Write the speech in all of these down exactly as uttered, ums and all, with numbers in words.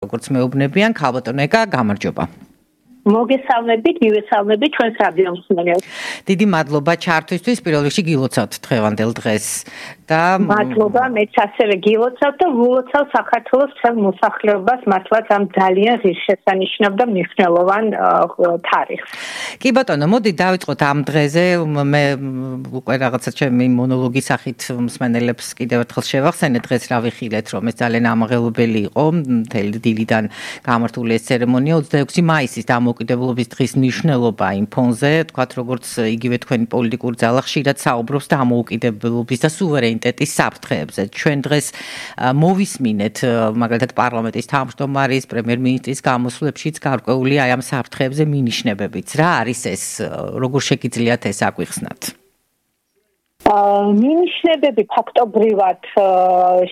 როგორც მეუბნებიან, ქალბატონო ეკა, გამარჯობა. მოგესალმებით, მივესალმებით ჩვენს რადიო მსმენელს. დიდი მადლობა ჩართვისთვის, პირველ რიგში გილოცავთ დღევანდელ დღეს და მადლობა, მეც ასევე გილოცავ და ვულოცავ საქართველოს მთელ მოსახლეობას, მართლაც ამ ძალიან ღირსშესანიშნავ და მნიშვნელოვან თარიღს. კი ბატონო, მოდი დავიწყოთ ამ დღეზე, მე უკვე რაღაცა ჩემი მონოლოგის სახით მსმენელებს კიდევ ერთხელ შევახსენე დღეს რა ვიხილეთ, რომ ეს ძალიან ამაღელვებელი იყო, მთელი დილიდან გამართული ეს ცერემონია ოცდაექვსი მაისის დამოუკიდებლობის დღის მნიშვნელობა იმ ფონზე, თქვათ როგორც იგივე თქვენი პოლიტიკური ძალა ხშირად საუბრობს დამოუკიდებლობის და სუვერენიტეტის საფრთხეებზე. ჩვენ დღეს მოვისმინეთ მაგალითად პარლამენტის თავმჯდომარის, პრემიერ-მინისტრის გამოსვლებშიც გარკვეული აი ამ საფრთხეებზე მინიშნებებიც. რა არის ეს, როგორ შეგიძლიათ ეს აგვიხსნათ? მინიშნებები ფაქტობრივად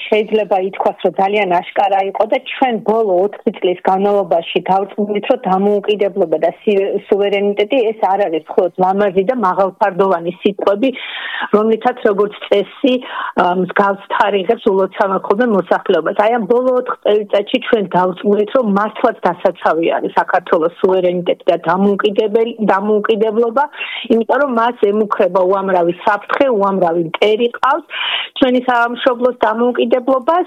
შეიძლება ითქვას, რომ ძალიან აშკარა იყო და ჩვენ ბოლო ოთხი წლის განმავლობაში დავწმუნდით, რომ დამოუკიდებლობა და სუვერენიტეტი ეს არ არის მხოლოდ ლამაზი და მაღალფარდოვანი სიტყვები, რომლითაც როგორც წესი მსგავს თარიღებს ულოცავენ ხოლმე მოსახლეობას. აი ამ ბოლო ოთხ წელიწადში ჩვენ დავწმუნდით, რომ მართლაც დასაცავი არის საქართველოს სუვერენიტეტი და დამოუკიდებლობა, იმიტომ რომ მას ემუქრება უამრავი საფრთხე, უამრავი მტერი ყავს ჩვენი სამშობლოს დამოუკიდებლობას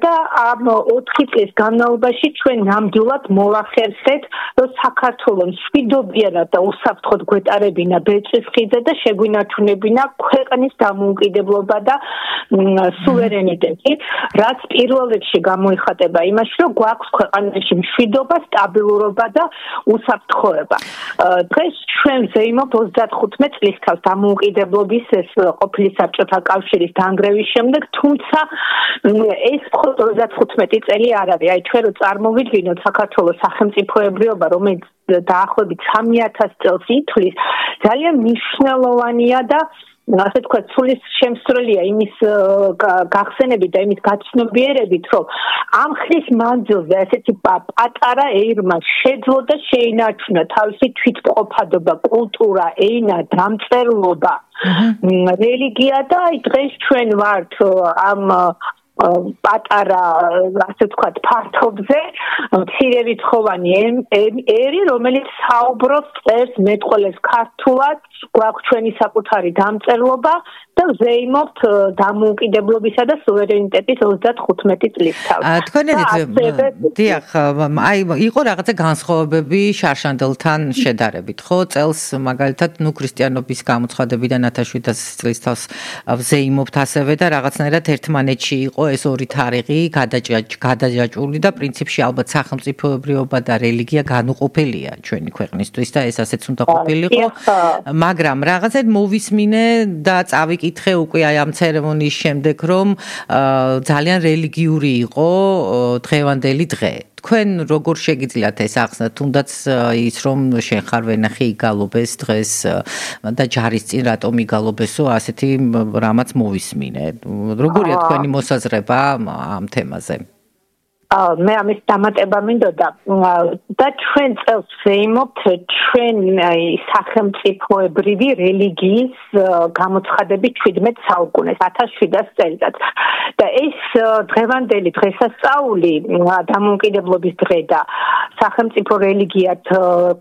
და ამ ოთხი წლის განმავლობაში ჩვენ ნამდვილად მოვახერხეთ, რომ საქართველოს მშვიდობიანად და უსაფრთხოდ გვეტარებინა ბეწვის ხიძე და შეგვინარჩუნებინა ქვეყნის დამოუკიდებლობა და სუვერენიტეტი, რაც პირველ რიგში გამოიხატება იმაში, რომ გვაქვს ქვეყანაში მშვიდობა, სტაბილურობა და უსაფრთხოება. დღეს ჩვენ ვზეიმობთ ოცდათხუთმეტ წლისთავს დამოუკიდებლობის ეს ყოფილი საბჭოთა კავშირის დანგრევის შემდეგ, თუმცა ეს მხოლოდ ოცდათხუთმეტი წელი არ არის. აი ჩვენ რო წარმოვიდგინოთ საქართველოს სახელმწიფოებრიობა, რომელიც დაახლოებით სამი ათას წელს ითვლის, ძალიან მნიშვნელოვანია და ასე თქვა სულის შემსწრელია იმის გახსენებით და იმის გაცნობიერებით, რომ ამ ხნის მანძილზე ასეთი პატარა ერმა შეძლო და შეინარჩუნა თავისი თვითმყოფადობა, კულტურა, ენა, დამწერლობა, რელიგია და აი დღეს ჩვენ ვართ ამ პატარა, ასე ვთქვათ, ფართობზე მცირერიცხოვანი ერი, რომელიც საუბრობს, წერს, მეტყველებს ქართულად, გვაქვს ჩვენი საკუთარი დამწერლობა და ვზეიმობთ დამოუკიდებლობისა და სუვერენიტეტის ოცდათხუთმეტი წლისთავს. თქვენებით, დიახ, აი იყო რაღაცა განსხვავებები შარშანდელთან შედარებით, ხო? წელს მაგალითად, ნუ ქრისტიანობის გამოცხადებიდან ათას შვიდას წლისთავს ვზეიმობთ ასევე და რაღაცნაირად ერთმანეთში იყო ეს ორი თარიღი გადაჯაჭვული და პრინციპში ალბათ სახელმწიფოებრიობა და რელიგია განუყოფელია ჩვენი ქვეყნისთვის და ეს ასეც უნდა ყოფილიყო, მაგრამ რაღაცად მოვისმინე და წავიკითხე უკვე აი ამ ცერემონიის შემდეგ, რომ ძალიან რელიგიური იყო დღევანდელი დღე. თქვენ როგორ შეგიძლიათ ეს ახსნათ, თუნდაც ის რომ შენ ხარ ვენახი იგალობეს დღეს და ჯარისწინ რატომ იგალობესო, ასეთი რამაც მოვისმინე. როგორია თქვენი მოსაზრება ამ თემაზე? მე ამის დამატება მინდოდა და ჩვენ წელს ვზეიმობთ ჩვენ სახელმწიფოებრივი რელიგიის გამოცხადების შვიდმეტ საუკუნეს, ათას შვიდას წელიწადს. და ეს დღევანდელი დღესასწაული, დამოუკიდებლობის დღე და სახელმწიფო რელიგიად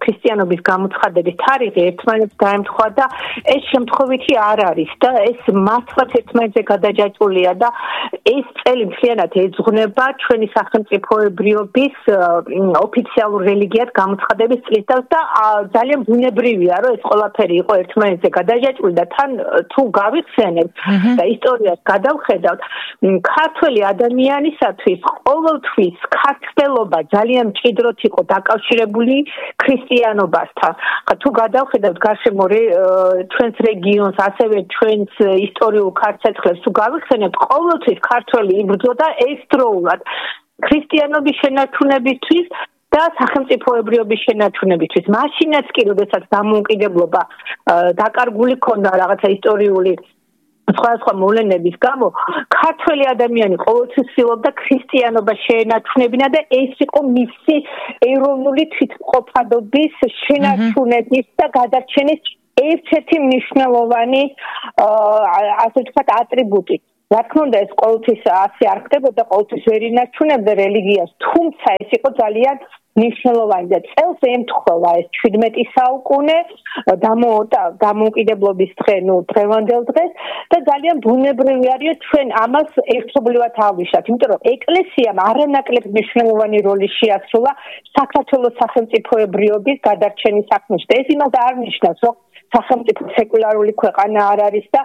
ქრისტიანობის გამოცხადების თარიღი ერთმანეთს გაემთხვა და ეს შემთხვევითი არ არის და ეს მართლაც ერთმანეთზე გადაჯაჭვულია და ეს წელი მთლიანად ეძღვნება ჩვენი სახელმწიფოებრიობის ოფიციალურ რელიგიად გამოცხადების წლისთავს და ძალიან ბუნებრივია, რომ ეს ყველაფერი იყო ერთმანეთზე გადაჯაჭვული და თან თუ გავიხსენებთ და ისტორიას გადავხედავთ, ქართველი ადამიანისათვის ყოველთვის ქართველობა ძალიან მჭიდროდ იყო დაკავშირებული ქრისტიანობასთან. თუ გადავხედავთ გარშემო ჩვენს რეგიონს, ასევე ჩვენს ისტორიულ ქართლებს თუ გავიხსენებთ, ყოველთვის ქართველი იბრძოდა ერთდროულად ქრისტიანობის შენარჩუნებისთვის და სახელმწიფოებრიობის შენარჩუნებისთვის. მაშინაც კი, როდესაც დამოუკიდებლობა დაკარგული ქონდა რაღაცა ისტორიული სხვადასხვა მოვლენების გამო, ქართველი ადამიანი ყოველთვის ცდილობდა ქრისტიანობა შეენარჩუნებინა და ეს იყო მისი ეროვნული თვითმყოფადობის შენარჩუნების და გადარჩენის ერთ-ერთი მნიშვნელოვანი, ასე ვთქვათ, ატრიბუტი. რა თქმა უნდა ეს ყოველთვის ასე არ ხდებოდა, ყოველთვის ვერ ინარჩუნებდა რელიგიას, თუმცა ეს იყო ძალიან მნიშვნელოვანი და წელს ემთხვევა ეს შვიდმეტი საუკუნე დამოუკიდებლობის დღე, ნუ დღევანდელ დღეს და ძალიან ბუნებრივი არის ჩვენ ამას ერთობლივად ავიშათ, იმიტომ რომ ეკლესიამ არანაკლებ მნიშვნელოვანი როლი შეასრულა საქართველოს სახელმწიფოებრიობის გადარჩენის საქმეში. ეს იმას არ ნიშნავს, რომ სახელმწიფო სეკულარული ქვეყანა არ არის და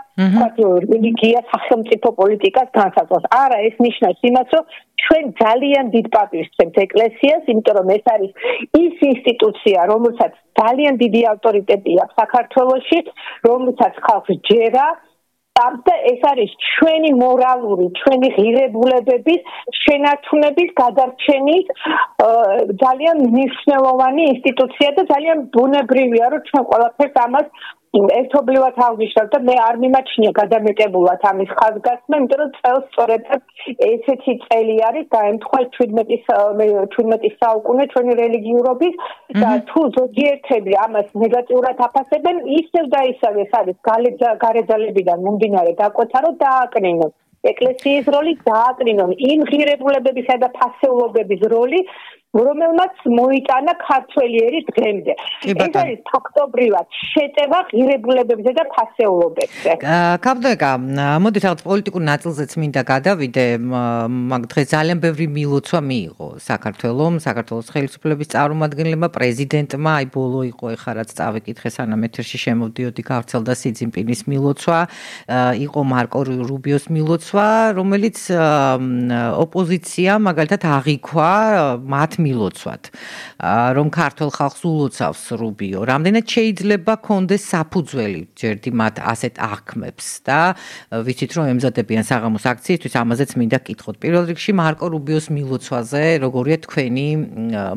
რელიგია სახელმწიფო პოლიტიკას განსაზღვრავს. არა, ეს ნიშნავს იმას, რომ ჩვენ ძალიან დიდ პატივს ვცემთ ეკლესიას, იმიტომ რომ ეს არის ის ინსტიტუცია, რომელსაც ძალიან დიდი ავტორიტეტი აქვს საქართველოში, რომელსაც ხალხს ჯერა და ეს არის ჩვენი მორალური, ჩვენი ღირებულებების შენარჩუნების გადარჩენის ძალიან მნიშვნელოვანი ინსტიტუცია და ძალიან ბუნებრივია, რომ ჩვენ ყველაფერს ამას ერთობლივად ავნიშნავთ და მე არ მიმაჩნია გადამეტებულად ამის ხაზგასმა, იმიტომ რომ წელს სწორედ ესეთი წელი არის დაემთხვა შვიდმეტი საუკუნე ჩვენი რელიგიურობის და თუ ზოგიერთები ამას ნეგატიურად აფასებენ, ისევ და ისევ ეს არის გარეძალებიდან მომდინარე დაკვეთა, რომ დააკნინონ ეკლესიის როლი, დააკნინონ იმ ღირებულებებისა და ფასეულობების როლი, რომელმაც მოიტანა ქართველი ერის დღემდე. ეს არის ფაქტობრივად შეტევა ღირებულებებზე და ფასეულობებზე. კაბდეკა, მოდი რაღაც პოლიტიკურ ნაწილზეც მინდა გადავიდე, მაგ დღეს ძალიან ბევრი მილოცვა მიიღო საქართველომ, საქართველოს ხელისუფლების წარმომადგენლებმა, პრეზიდენტმა, აი ბოლო იყო ეხლა რაც წავიკითხე სანამ ეთერში შემოვდიოდი, გავრცელდა სი ძინპინის მილოცვა, იყო მარკო რუბიოს მილოცვა, რომელიც ოპოზიცია მაგალითად აღიქვა მათ მილოცვად, რომ ქართულ ხალხს ულოცავს რუბიო. რამდენად შეიძლება კონდეს საფუძველი ჯერდი მათ ასეთ აღქმებს და ვიცით რომ ემზადებიან საღამოს აქციისთვის, ამაზეც მინდა გკითხოთ. პირველ რიგში მარკო რუბიოს მილოცვაზე როგორია თქვენი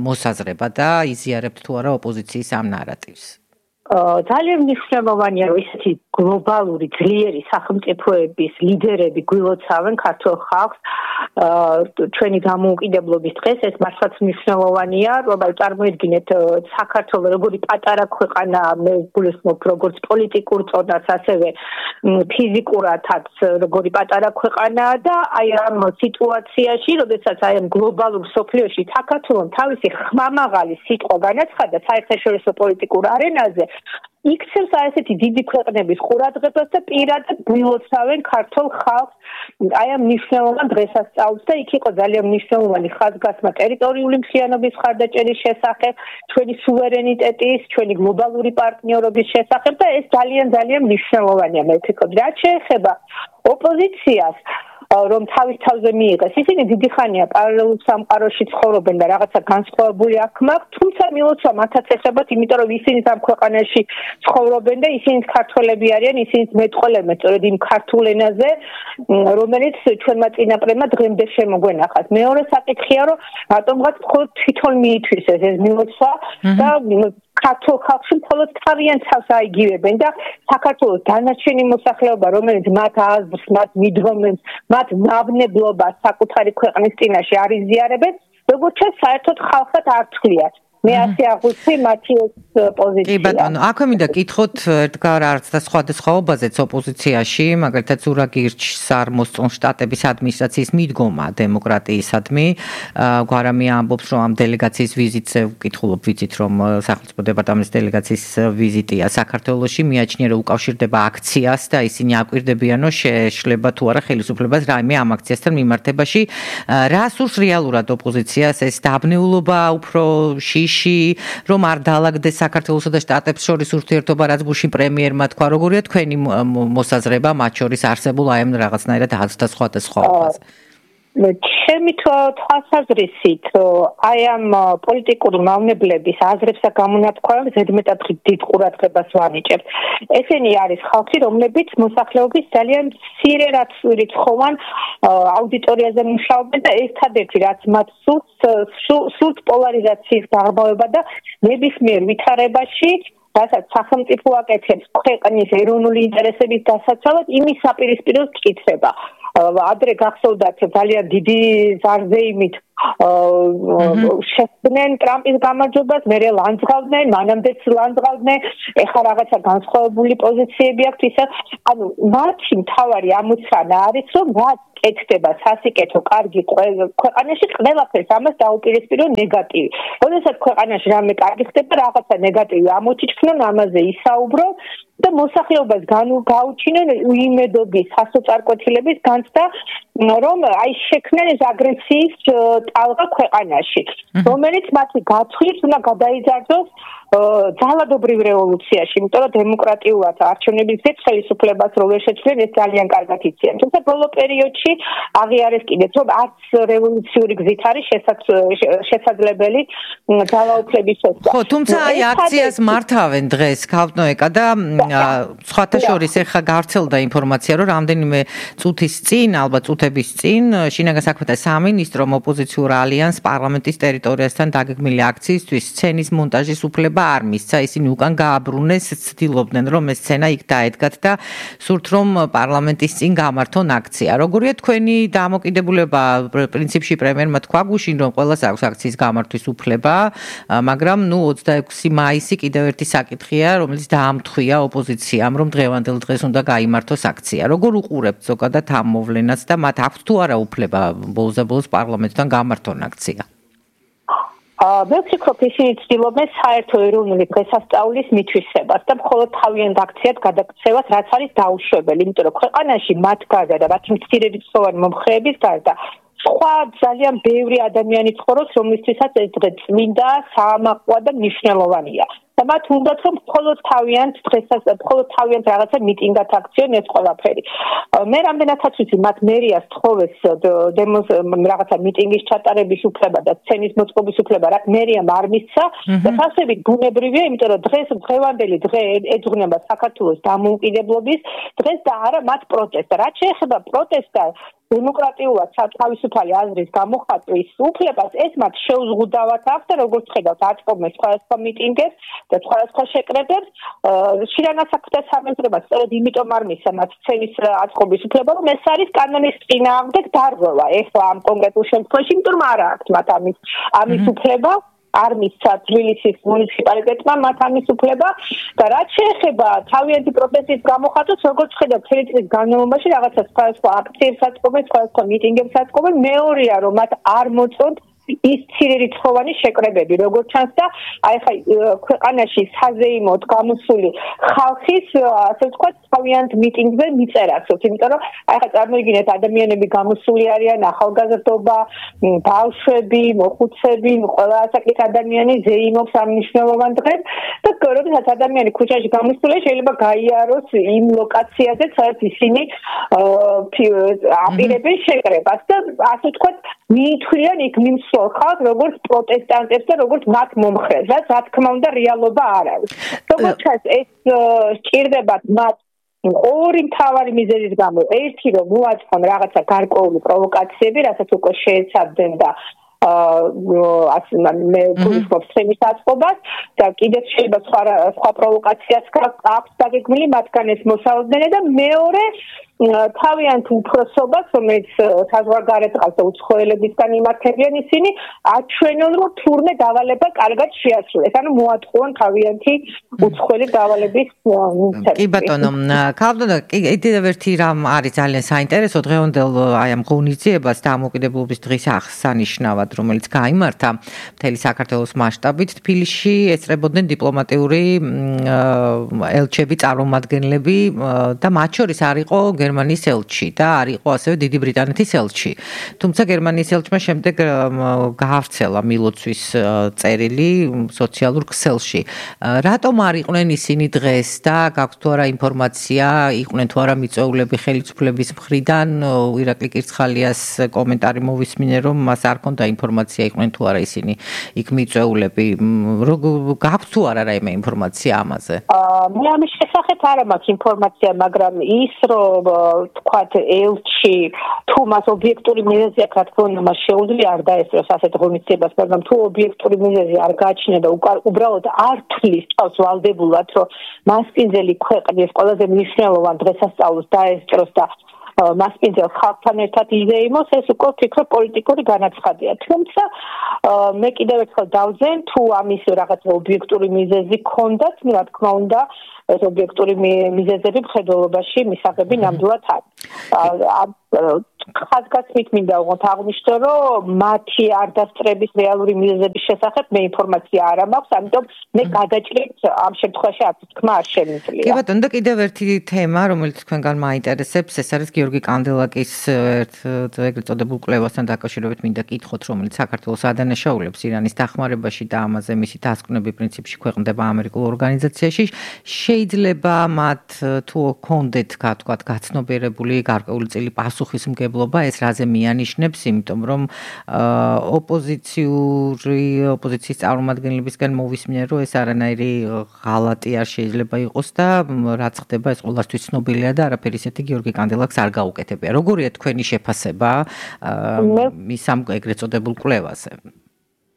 მოსაზრება და იზიარებთ თუ არა ოპოზიციის ამ ნარატივს? ძალიან მნიშვნელოვანია, რომ ისეთი გლობალური ძლიერი სახელმწიფოების ლიდერები გვილოცავენ ქართულ ხალხს ჩვენი დამოუკიდებლობის დღეს. ეს მართლაც მნიშვნელოვანია, რომ წარმოედგინეთ საქართველოს როგორი პატარა ქვეყანა, მე გულისხმობ როგორც პოლიტიკურ წონას, ასევე ფიზიკურადაც როგორი პატარა ქვეყანაა და აი ამ სიტუაციაში, როდესაც აი ამ გლობალურ სოფლიოში საქართველოს თავისი ხმამაღალი სიტყვა განაცხადა საერთაშორისო პოლიტიკურ არენაზე, იქცევს ასეთი დიდი ქვეყნების ყურადღებას და პირადად გვილოცავენ ქართულ ხალხს აი ამ მნიშვნელოვან დღესასწაულს და იქ იყო ძალიან მნიშვნელოვანი ხაზგასმა ტერიტორიული მთლიანობის მხარდაჭერის შესახებ, ჩვენი სუვერენიტეტის, ჩვენი გლობალური პარტნიორობის შესახებ და ეს ძალიან ძალიან მნიშვნელოვანია. მე ვფიქრობ, რაც შეეხება ოპოზიციას, რომ თავის თავზე მიიღეს. ისინი დიდი ხანია პარალელურ სამყაროში ცხოვრობენ და რაღაცა განსხვავებული აქვთ, თუმცა მილოცვა მათაც ეხებათ, იმიტომ რომ ისინი ამ ქვეყანაში ცხოვრობენ და ისინი ქართველები არიან, ისინი მეტყოლებენ სწორედ იმ ქართულ ენაზე, რომელიც ჩვენმა წინაპრებმა დღემდე შემოგვენახათ. მეორე საკითხია, რომ რატომღაც მხოლოდ თვითონ მიითვისეს ეს მილოცვა და ქართულ ხალხში მხოლოდ თავიანთ თავს აიგივებენ და საქართველოს დანარჩენი მოსახლეობა, რომელიც მათ აზრს, მათ მიდგომებს, მათ ნავნებლობას საკუთარი ქვეყნის წინაშე არ იზიარებენ, როგორც ჩანს, საერთოდ ხალხად არ თვლიათ. მე ასე აღვიცი მათი პოზიცია. კი ბატონო, აქვე მინდა გკითხოთ ერთგარ არც და სხვადასხვაობაზეც ოპოზიციაში, მაგალითად ზურაგირჩს არ მოსწონს შტატების ადმინისტრაციის მიდგომა დემოკრატიისადმი. გვარამი ამბობს, რომ ამ დელეგაციის ვიზიტზე ვკითხულობ, ვიცით რომ სახელმწიფო დეპარტამენტის დელეგაციის ვიზიტია საქართველოში, მიაჩნია რომ უკავშირდება აქციას და ისინი აკვირდებიან, რომ შეეშლება თუ არა ხელისუფლებას რაიმე ამ აქციასთან მიმართებაში. რა სურს რეალურად ოპოზიციას, ეს დაბნეულობა უფრო რომ არ დაალაგდეს საქართველოსა და შტატებს შორის ურთიერთობა, რაც ბუში პრემიერმა თქვა, როგორია თქვენი მოსაზრება მათ შორის არსებულ აი ამ რაღაცნაირად აზრთა სხვადასხვაობაზე? ჩემი თვალსაზრისით, აი ამ პოლიტიკური მავნებლების აზრებსა გამონათქვამებს ზედმეტად დიდ ყურადღებას ვანიჭებთ. ესენი არის ხალხი, რომლებიც მოსახლეობის ძალიან მცირე რიცხოვან აუდიტორიაზე მუშაობენ და ერთადერთი რაც მათ სურთ პოლარიზაციის დაღმავება და ნებისმიერ ვითარებაში რასაც სახელმწიფო აკეთებს ქვეყნის ეროვნული ინტერესების დასაცავად, იმის საპირისპიროს მტკიცება. ადრე გახსოვდათ ძალიან დიდი ზარზეიმით შეხვდნენ ტრამპის გამარჯვებას, მერე ლანძღავდნენ, მანამდეც ლანძღავდნენ, ეხლა რაღაცა განსხვავებული პოზიციები აქვთ ისე, ანუ მათი მთავარი ამოცანა არის, რომ რაც კეთდება სასიკეთო, კარგი ქვეყანაში ყველაფერს ამას დაუპირისპირო ნეგატივი. როდესაც ქვეყანაში რამე კარგი ხდება, რაღაცა ნეგატივი ამოჩიჩქნონ, ამაზე ისაუბრო და მოსახლეობას გაუჩინონ უიმედობის, სასოწარკვეთილების განცდა, რომ აი შექმნენ ეს აგრესიის ტალღა ქვეყანაში, რომელიც მათი გაწყვეტს უნდა გადაიძარცოს ძალადობრივ რევოლუციაში, იმიტომ რომ დემოკრატიულად არჩევნების გზით ხელისუფლებას რო ვერ შეცვლენ, ეს ძალიან კარგად იციან. თუმცა ბოლო პერიოდში აღიარეს კიდეც, რომ არც რევოლუციური გზით არის შესაძლებელი ძალაუფლების შესწავლა. ხო, თუმცა აი აქციას მართავენ დღეს ქავტნოეკა და სხვათა შორის ეხა გავრცელდა ინფორმაცია, რომ რამდენიმე წუთის წინ, ალბათ წუთების წინ, შინაგან საქმეთა სამინისტრომ ოპოზიციურ ალიანს პარლამენტის ტერიტორიასთან დაგეგმილი აქციისთვის სცენის მონტაჟის უფლება არ მისცა, ისინი უკან გააბრუნეს, ცდილობდნენ, რომ ეს სცენა იქ დაედგათ და სურთ, რომ პარლამენტის წინ გამართონ აქცია. როგორია თქვენი დამოკიდებულება? პრინციპში პრემიერმა თქვა გუშინ, რომ ყველას აქვს აქციის გამართვის უფლება, მაგრამ ნუ ოცდაექვსი მაისი კიდევ ერთი საკითხია, რომელიც დაამთხვია ოპოზიციამ, რომ დღევანდელ დღეს უნდა გაიმართოს აქცია. როგორ უყურებთ ზოგადად ამ მოვლენას და მათ აქვთ თუ არა უფლება ბოლოს პარლამენტთან გამართონ აქცია? მე ვფიქრობ, ისინი ცდილობენ საერთო ეროვნული დღესასწაულის მითვისებას და მხოლოდ თავიანთ აქციად გადაქცევას, რაც არის დაუშვებელი, იმიტომ რომ ქვეყანაში მათ გარდა და მათი მცირერიცხოვანი მომხრეების გარდა სხვა ძალიან ბევრი ადამიანი ცხოვრობს, რომლისთვისაც ეს დღე წმინდა, საამაყოა და მნიშვნელოვანია. და მათ უნდათ რომ მხოლოდ თავიანთ დღესასწაულს, მხოლოდ თავიანთ რაღაცა მიტინგად აქციონ ეს ყველაფერი. მე რამდენადაც ვიცი, მათ მერიას თხოვეს დემოს რაღაცა მიტინგის ჩატარების უფლება და სცენის მოწყობის უფლება, რაც მერიამ არ მისცა და ფასებით ბუნებრივია, იმიტომ რომ დღეს დღევანდელი დღე ეძღვნება საქართველოს დამოუკიდებლობის დღეს და არა მათ პროტესტს. რაც შეეხება პროტესტს დემოკრატიულად თავისუფალი აზრის გამოხატვის უფლებას, ეს მათ შეუზღუდავად აქვს და როგორც ხედავთ, აწყობენ სხვადასხვა მიტინგებს და სხვადასხვა შეკრებებს. შინაგან საქმეთა სამინისტრომა სწორედ იმიტომ არ მისცა მათ სცენის აწყობის უფლება, რომ ეს არის კანონის წინააღმდეგ დარღვევა. ეხლა ამ კონკრეტულ შემთხვევაში, იმიტომ რომ არ აქვს მათ ამის ამის უფლება. არ მისცა თბილისის მუნიციპალიტეტმა მათ ამის უფლება და რაც შეეხება თავიანთი პროტესტის გამოხატვას, როგორც ხედავთ, მთელი წლის განმავლობაში რაღაცა სხვადასხვა აქციებს აწყობენ, სხვადასხვა მიტინგებს აწყობენ, მეორეა რომ მათ არ მოწონთ ის ცირერიცხოვანი შეკრებები, როგორც ჩანს და აი ხა ქვეყანაში საზეიმოდ გამოსული ხალხის, ასე ვთქვათ, თავიანთ მიტინგზე მიწერასოთ, იმიტომ რომ აი ხა წარმოიდგინეთ, ადამიანები გამოსული არიან, ახალგაზრდობა, ბავშვები, მოხუცები, ყველა ასაკის ადამიანი ზეიმობს ამ მნიშვნელოვან დღეს და როდესაც ადამიანი ქუჩაში გამოსულია, შეიძლება გაიაროს იმ ლოკაციაზე, სადაც ისინი აპირებენ შეკრებას და ასე ვთქვათ, მიითვლიან იქ მიმსვლელ ხალხს, როგორც პროტესტანტებს და როგორც მათ მომხრეს, რაც რა თქმა უნდა რეალობა არ არის. როგორც ჩანს, ეს სჭირდებათ მათ ორი მთავარი მიზეზის გამო. ერთი რომ მოაწყონ რაღაცა გარკვეული პროვოკაციები, რასაც უკვე შეეცადნენ და ასე მე გულისხმობ სცენის აწყობას და კიდევ შეიძლება სხვა სხვა პროვოკაციაც აქვს დაგეგმილი, მათგან ეს მოსალოდნელი და მეორე თავიანთ უფროსობას, რომელიც საზღვარგარეთ ყავს და უცხოელებისგან იმართებიან, ისინი აჩვენონ, რომ თურმე დავალება კარგად შეასრულეს. ანუ მოატყუონ თავიანთი უცხოელი დავალების მიცემა. კი ბატონო, ქავდო კიდევ ერთი რამ არის ძალიან საინტერესო დღევანდელ აი ამ ღონისძიებას დამოუკიდებლობის დღის აღსანიშნავად, რომელიც გაიმართა მთელი საქართველოს მასშტაბით თბილისში, ეწრებოდნენ დიპლომატიური ელჩები, წარმომადგენლები და მათ შორის არ იყო გერმანიის ელჩი და არ იყო ასევე დიდი ბრიტანეთის ელჩი. თუმცა გერმანიის ელჩმა შემდეგ გაავრცელა მილოცვის წერილი სოციალურ ქსელში. რატომ არ იყვნენ ისინი დღეს და გაქვთ თუ არა ინფორმაცია, იყვნენ თუ არა მიწვეულები ხელისუფლების მხრიდან? ირაკლი კირცხალიას კომენტარი მოვისმინე, რომ მას არ ჰქონდა ინფორმაცია, იყვნენ თუ არა ისინი იქ მიწვეულები. გაქვთ თუ არა რაიმე ინფორმაცია ამაზე? მე ამის შესახებ არ მაქვს ინფორმაცია, მაგრამ ის რომ თქვათ ელჩი თუ მას ობიექტური მიზეზი აქვს, რა თქმა უნდა, მას შეუძლია არ დაესწროს ასეთ ღონისძიებას, მაგრამ თუ ობიექტური მიზეზი არ გააჩნია და უბრალოდ არ თვლის თავს ვალდებულად, რომ მასპინძელი ქვეყნის ყველაზე მნიშვნელოვან დღესასწაულს დაესწროს და მასპინძელ ხალხთან ერთად იზეიმოს, ეს უკვე ვფიქრობ პოლიტიკური განაცხადია. თუმცა მე კიდევ ერთხელ დავძენ, თუ ამის რაღაც ობიექტური მიზეზი გქონდათ, რა თქმა უნდა, ეს ობიექტური მიზეზები მხედველობაში მისაღები ნამდვილად არის. ხაზგასმით მინდა უღოთ აღვნიშნო, რომ მათი არ დასწრების რეალური მიზეზების შესახებ მე ინფორმაცია არ მაქვს, ამიტომ მე გადაჭრით ამ შემთხვევაში არც თქმა არ შემიძლია. კი ბატონო, და კიდევ ერთი თემა, რომელიც თქვენგან მაინტერესებს, ეს არის გიორგი კანდელაკის ერთ ეგრეთ წოდებულ კვლევასთან დაკავშირებით მინდა კითხოთ, რომელიც საქართველოს ადანაშაულებს ირანის დახმარებაში და ამაზე მისი დასკვნები პრინციპში ქვეყნდება ამერიკულ ორგანიზაციაში. შეიძლება მათ თუ კონდეთ თქვათ გაცნობიერებული გარკვეული წილი პასუხისმგებლობა, ეს რაზე მიანიშნებს, იმიტომ რომ ოპოზიციური ოპოზიციის წარმომადგენლებისგან მოვისმინე, რომ ეს არანაირი ღალატი არ შეიძლება იყოს და რაც ხდება, ეს ყველასთვის ცნობილია და არაფერი ისეთი გიორგი კანდელაკს არ გაუკეთებია. როგორია თქვენი შეფასება მის ამ ეგრეთ წოდებულ კვლევაზე?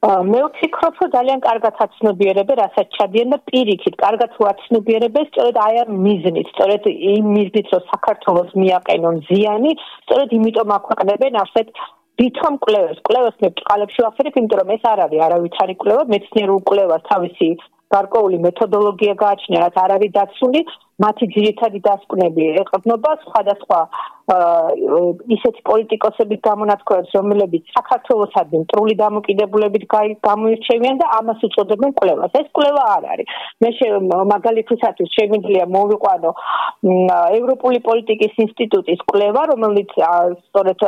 მე ვფიქრობ, რომ ძალიან კარგად აცნობიერებენ, რასაც ჩადიან და პირიქით, კარგად ვაცნობიერებენ, სწორედ აი ამ მიზნით, სწორედ იმ მიზნით, რომ საქართველოს მიაყენონ ზიანი, სწორედ იმიტომ აქვეყნებენ ასეთ ვითომ კვლევას. კვლევას მე ბჭყალებში ვახსენებ, იმიტომ რომ ეს არ არის არავითარი კვლევა, მეცნიერულ კვლევას თავისი გარკვეული მეთოდოლოგია გააჩნია, რაც არ არის დაცული, მათი ძირითადი დასკვნები ეყრდნობა სხვადასხვა ისეთი პოლიტიკოსების გამონათქვამებს, რომლებიც საქართველოსადმი მტრული დამოკიდებულებით გამოირჩევიან და ამას უწოდებენ კვლევას. ეს კვლევა არ არის. მე მაგალითისათვის შემიძლია მოვიყვანო ევროპული პოლიტიკის ინსტიტუტის კვლევა, რომელიც სწორედ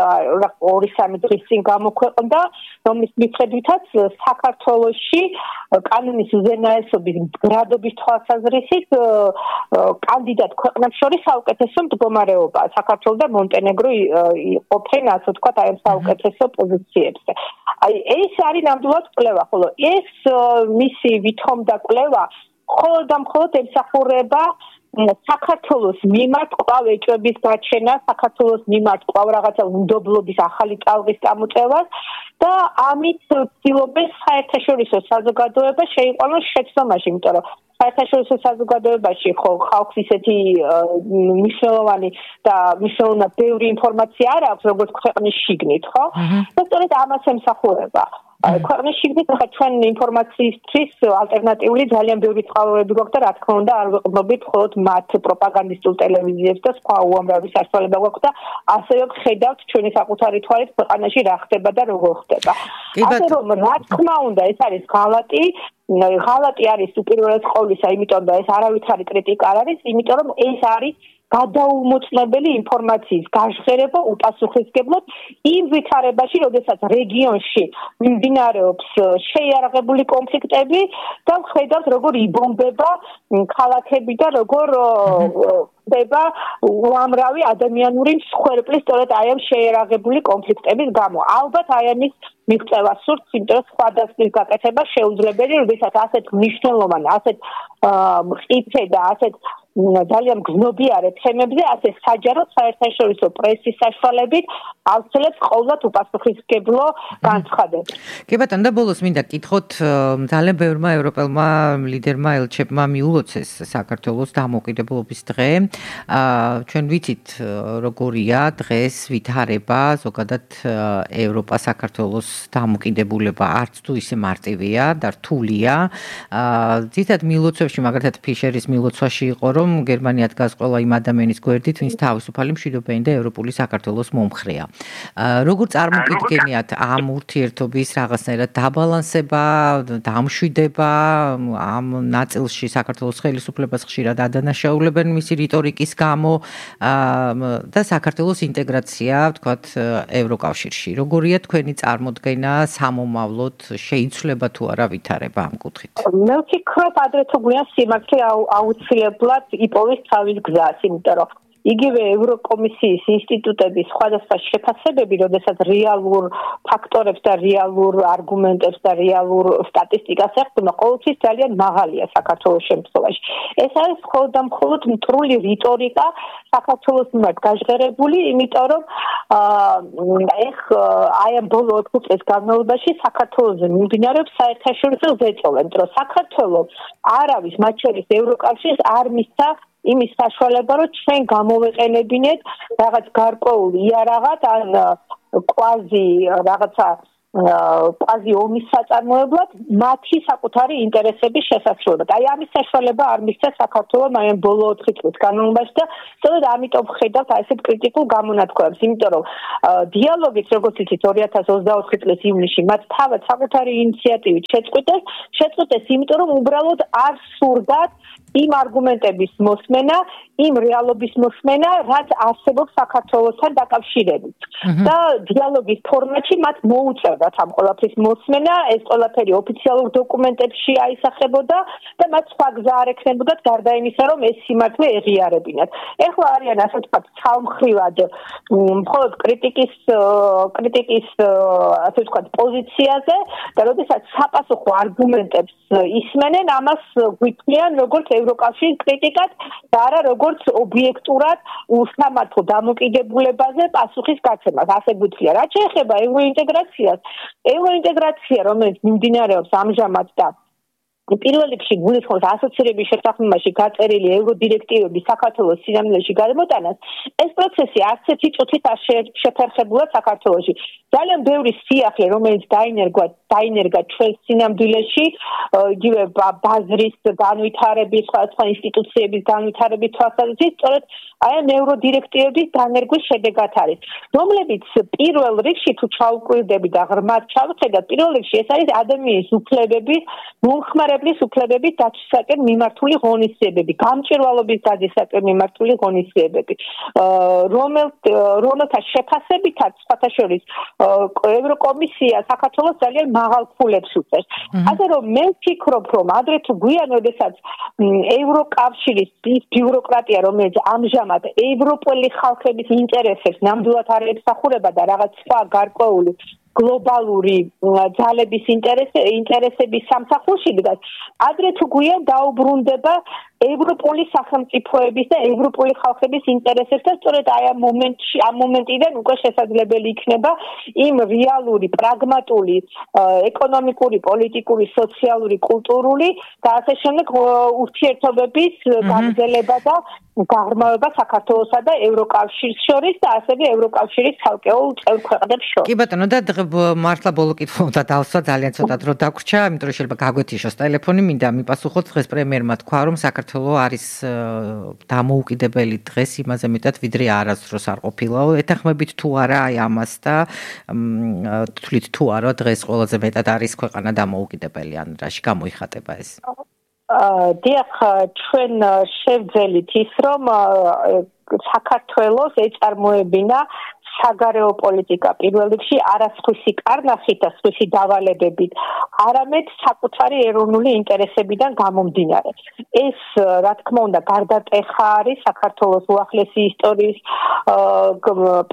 ორი სამი დღის წინ გამოქვეყნდა, რომლის მიხედვითაც საქართველოში კანონის უზენაესობის გრადობის თვალსაზრისით კანდიდატ ქვეყნებს შორის საუკეთესო მდგომარეობაა. საქართველო და მონტენეგრო იყოფენ, ასე ვთქვათ, აი ამ საუკეთესო პოზიციებზე. აი ეს არის ნამდვილად კვლევა, ხოლო ეს მისი ვითომდა კვლევა მხოლოდ და მხოლოდ ემსახურება საქართველოს მიმართ კვლავ ეჭვების გაჩენა, საქართველოს მიმართ კვლავ რაღაცა უნდობლობის ახალი ტალღის წამოწევას და ამით ცდილობენ საერთაშორისო საზოგადოება შეიყვანოს შეცდომაში, იმიტომ რომ საერთაშორისო საზოგადოებაში ხო ხალხს ისეთი მნიშვნელოვანი და მნიშვნელოვნად ბევრი ინფორმაცია არ აქვს, როგორც ქვეყნის შიგნით, ხო? და სწორედ ამას ემსახურება. ქვეყნის შიგნით ხა ჩვენ ინფორმაციისთვის ალტერნატიული ძალიან ბევრი წყაროები გვაქვს და რა თქმა უნდა არ ვიყრდნობით მხოლოდ მათ პროპაგანდისტულ ტელევიზიებს და სხვა უამრავი საშუალება გვაქვს და ასევე ხედავთ ჩვენი საკუთარი თვალით ქვეყანაში რა ხდება და როგორ ხდება. ასე რომ რა თქმა უნდა ეს არის ღალატი, ღალატი არის უპირველეს ყოვლისა, იმიტომ და ეს არავითარი კრიტიკა არ არის, იმიტომ რომ ეს არის გადაუმოწმებელი ინფორმაციის გაჟღერება უპასუხისმგებლოდ იმ ვითარებაში, როდესაც რეგიონში მიმდინარეობს შეიარაღებული კონფლიქტები და ხედავთ როგორ იბომბება ქალაქები და როგორ ხდება უამრავი ადამიანური მსხვერპლი სწორედ აი ამ შეიარაღებული კონფლიქტების გამო. ალბათ აი ამის მიღწევა სურთ, იმიტომ რომ სხვა დასკვნის გაკეთება შეუძლებელი, როდესაც ასეთ მნიშვნელოვან, ასეთ მყიფე და ასეთ ძალიან გზნობიარე თემებზე ასე საჯაროდ საერთაშორისო პრესის საშუალებით აუცილებლად ყოველდღე უპასუხისმგებლო განცხადებს. კი ბატონო, და ბოლოს მინდა კითხოთ, ძალიან ბევრმა ევროპელმა ლიდერმა ელჩებმა მიულოცეს საქართველოს დამოუკიდებლობის დღე. ჩვენ ვიცით როგორია დღეს ვითარება ზოგადად ევროპა საქართველოს დამოუკიდებულება არც თუ ისე მარტივია და რთულია. ძირითადად მილოცვებში, მაგალითად ფიშერის მილოცვაში იყო, რომ გერმანია დგას ყველა იმ ადამიანის გვერდით, ვინც თავისუფალი მშვიდობიანი და ევროპული საქართველოს მომხრეა. როგორ წარმოგიდგენიათ ამ ურთიერთობის რაღაცნაირად დაბალანსება, დამშვიდება, ამ ნაწილში საქართველოს ხელისუფლებას ხშირად ადანაშაულებენ მისი რიტორიკის გამო და საქართველოს ინტეგრაცია, ვთქვათ, ევროკავშირში. როგორია თქვენი წარმოდგენა სამომავლოდ, შეიცვლება თუ არა ვითარება ამ კუთხით? მე ვფიქრობ, ადრე თუ გვიან სიმართლე აუცილებლად იპოვის თავის გზას, იმიტომ რომ იგივე ევროკომისიის ინსტიტუტების სხვადასხვა შეფასებები, როდესაც რეალურ ფაქტორებს და რეალურ არგუმენტებს და რეალურ სტატისტიკას ეხება, ყოველთვის ძალიან მაღალია საქართველოს შემთხვევაში. ეს არის მხოლოდ და მხოლოდ მტრული რიტორიკა საქართველოს მიმართ გაჟღერებული, იმიტომ რომ ეხ აი ამ ბოლო ოთხი წლის განმავლობაში საქართველოზე მიმდინარეობს საერთაშორისო ზეწოლა, იმიტომ რომ საქართველოს არ არის მათ შორის ევროკავშირს არ მისცა იმის საშუალება, რომ ჩვენ გამოვეყენებინეთ რაღაც გარკვეულ იარაღად ან კვაზი რაღაცა კვაზი ომის საწარმოებლად მათი საკუთარი ინტერესების შესაძლებლად. აი ამის საშუალება არ მისცა საქართველოს აი ბოლო ოთხი წლის განმავლობაში და სწორედ ამიტომ ხედავთ აი ესეთ კრიტიკულ გამონათქვამს, იმიტომ რომ დიალოგიც როგორც იცით ორი ათას ოცდაოთხი წლის ივნისში მათ თავად საკუთარი ინიციატივით შეწყვიტეს, შეწყვიტეს იმიტომ რომ უბრალოდ არ სურდათ იმ არგუმენტების მოსმენა, იმ რეალობის მოსმენა, რაც არსებობს საქართველოსთან დაკავშირებით. და დიალოგის ფორმატში მათ მოუწევდათ ამ ყველაფრის მოსმენა, ეს ყველაფერი ოფიციალურ დოკუმენტებში აისახებოდა და მათ სხვა გზა არ ექნებოდათ გარდა იმისა, რომ ეს სიმართლე ეღიარებინათ. ეხლა არიან ასე ვთქვათ, ცალმხრივად მხოლოდ კრიტიკის კრიტიკის ასე ვთქვათ პოზიციაზე და როდესაც საპასუხო არგუმენტებს ისმენენ, ამას გვიქმნიან როგორც ევროკავშირის კრიტიკად და არა როგორც ობიექტურად უსამართლო დამოკიდებულებაზე პასუხის გაცემას. ასე გვიქმნია. რაც შეეხება ევროინტეგრაციას, ევროინტეგრაცია, რომელიც მიმდინარეობს ამჟამად და პირველ რიგში გულისხმობს ასოცირების შეთანხმებაში გაწერილი ევროდირექტივების საქართველოს სინამდვილეში გადმოტანას, ეს პროცესი არც ერთი წუთით არ შეფერხებულა საქართველოში. ძალიან ბევრი სიახლე, რომელიც დაინერგვა, დაინერგა ჩვენს სინამდვილეში, იგივე ბაზრის განვითარების, სხვადასხვა ინსტიტუციების განვითარების თვალსაზრისით, სწორედ აი ამ ევროდირექტივების დანერგვის შედეგად არის, რომლებიც პირველ რიგში თუ ჩაუკვირდები და ღრმად ჩავხედავთ, პირველ რიგში ეს არის ადამიანის უფლებების მომხმარებლის უფლებების დაცვისაკენ მიმართული ღონისძიებები, გამჭვირვალობის დაცვისაკენ მიმართული ღონისძიებები, რომელთა შეფასებითაც სხვათა შორის ევროკომისია საქართველოს ძალიან მაღალ ფულებს უწევს. ასე რომ მე ვფიქრობ, რომ ადრე თუ გვიან, როდესაც ევროკავშირის ბიუროკრატია, რომელიც ამჟამად ევროპელი ხალხების ინტერესებს ნამდვილად არ ემსახურება და რაღაც სხვა გარკვეული გლობალური ძალების ინტერესების სამსახურში დგას, ადრე თუ გვიან დაუბრუნდება ევროპული სახელმწიფოების და ევროპული ხალხების ინტერესებს და სწორედ აი ამ მომენტში, ამ მომენტიდან უკვე შესაძლებელი იქნება იმ რეალური, პრაგმატული, ეკონომიკური, პოლიტიკური, სოციალური, კულტურული და ასე შემდეგ ურთიერთობების გაგრძელება და გაღრმავება საქართველოსა და ევროკავშირის შორის და ასევე ევროკავშირის ცალკეულ წევრ ქვეყნებს შორის. კი ბატონო, და მართლა ბოლო კითხვა და დავსვა, ძალიან ცოტა დრო დაგვრჩა, იმიტომ რომ შეიძლება გაგვეთიშოს ტელეფონი, მინდა მიპასუხოთ დღეს პრემიერმა თქვა, რომ საქართველოს არის დამოუკიდებელი დღეს იმაზე მეტად ვიდრე არასდროს არ ყოფილაო. ეთანხმებით თუ არა აი ამას და თვლით თუ არა დღეს ყველაზე მეტად არის ქვეყანა დამოუკიდებელი, ან რაში გამოიხატება ეს? დიახ, ჩვენ შევძელით ის, რომ საქართველოს ეწარმოებინა საგარეო პოლიტიკა პირველ რიგში არასხვისი კარნახით და სხვისი დავალებებით, არამედ საკუთარი ეროვნული ინტერესებიდან გამომდინარე. ეს, რა თქმა უნდა, გარდატეხა არის საქართველოს უახლესი ისტორიის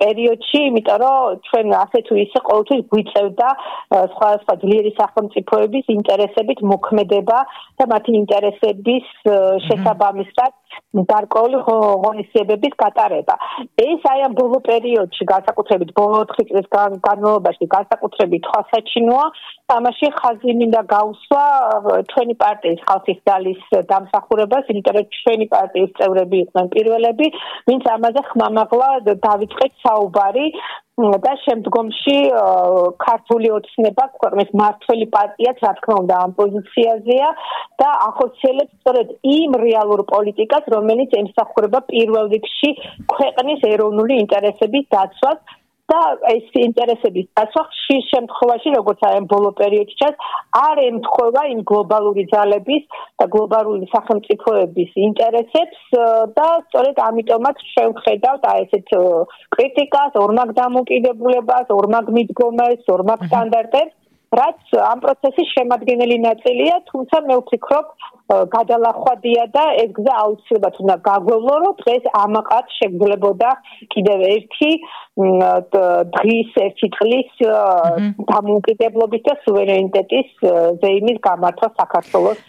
პერიოდში, იმიტომ რომ ჩვენ ასე თუ ისე ყოველთვის გვიწევდა სხვადასხვა ძლიერი სახელმწიფოების ინტერესებით მოქმედება და მათი ინტერესების შესაბამისად გარკვეული ღონისძიებების გატარება. ეს აი ამ ბოლო პერიოდში, განსაკუთრებით ბოლო ოთხი წლის განმავლობაში, განსაკუთრებით თვალსაჩინოა, ამაში ხაზი მინდა გაუსვა ჩვენი პარტიის ხალხის ძალის დამსახურებას, იმიტომ რომ ჩვენი პარტიის წევრები იყვნენ პირველები, ვინც ამაზე ხმამაღლა დავიწყეთ საუბარი და შემდგომში ქართული ოცნება ქვეყნის მმართველი პარტიაც რა თქმა უნდა ამ პოზიციაზეა და ახორციელებს სწორედ იმ რეალურ პოლიტიკას, რომელიც ემსახურება პირველ რიგში ქვეყნის ეროვნული ინტერესების დაცვას და ეს ინტერესების დაცვა ხშირ შემთხვევაში, როგორც აი ამ ბოლო პერიოდში ჩანს, არ ემთხვევა იმ გლობალური ძალების და გლობალური სახელმწიფოების ინტერესებს და სწორედ ამიტომაც შევხედავთ აი ესეთ კრიტიკას, ორმაგ დამოკიდებულებას, ორმაგ მიდგომას, ორმაგ სტანდარტებს, რაც ამ პროცესის შემადგენელი ნაწილია, თუმცა მე ვფიქრობ, გადალახვადია და ეს გზა აუცილებლად უნდა გაგვევლო, რომ დღეს ამაყად შეგძლებოდა კიდევ ერთი დღის ერთი წლის დამოუკიდებლობის და სუვერენიტეტის ზეიმის გამართვა საქართველოს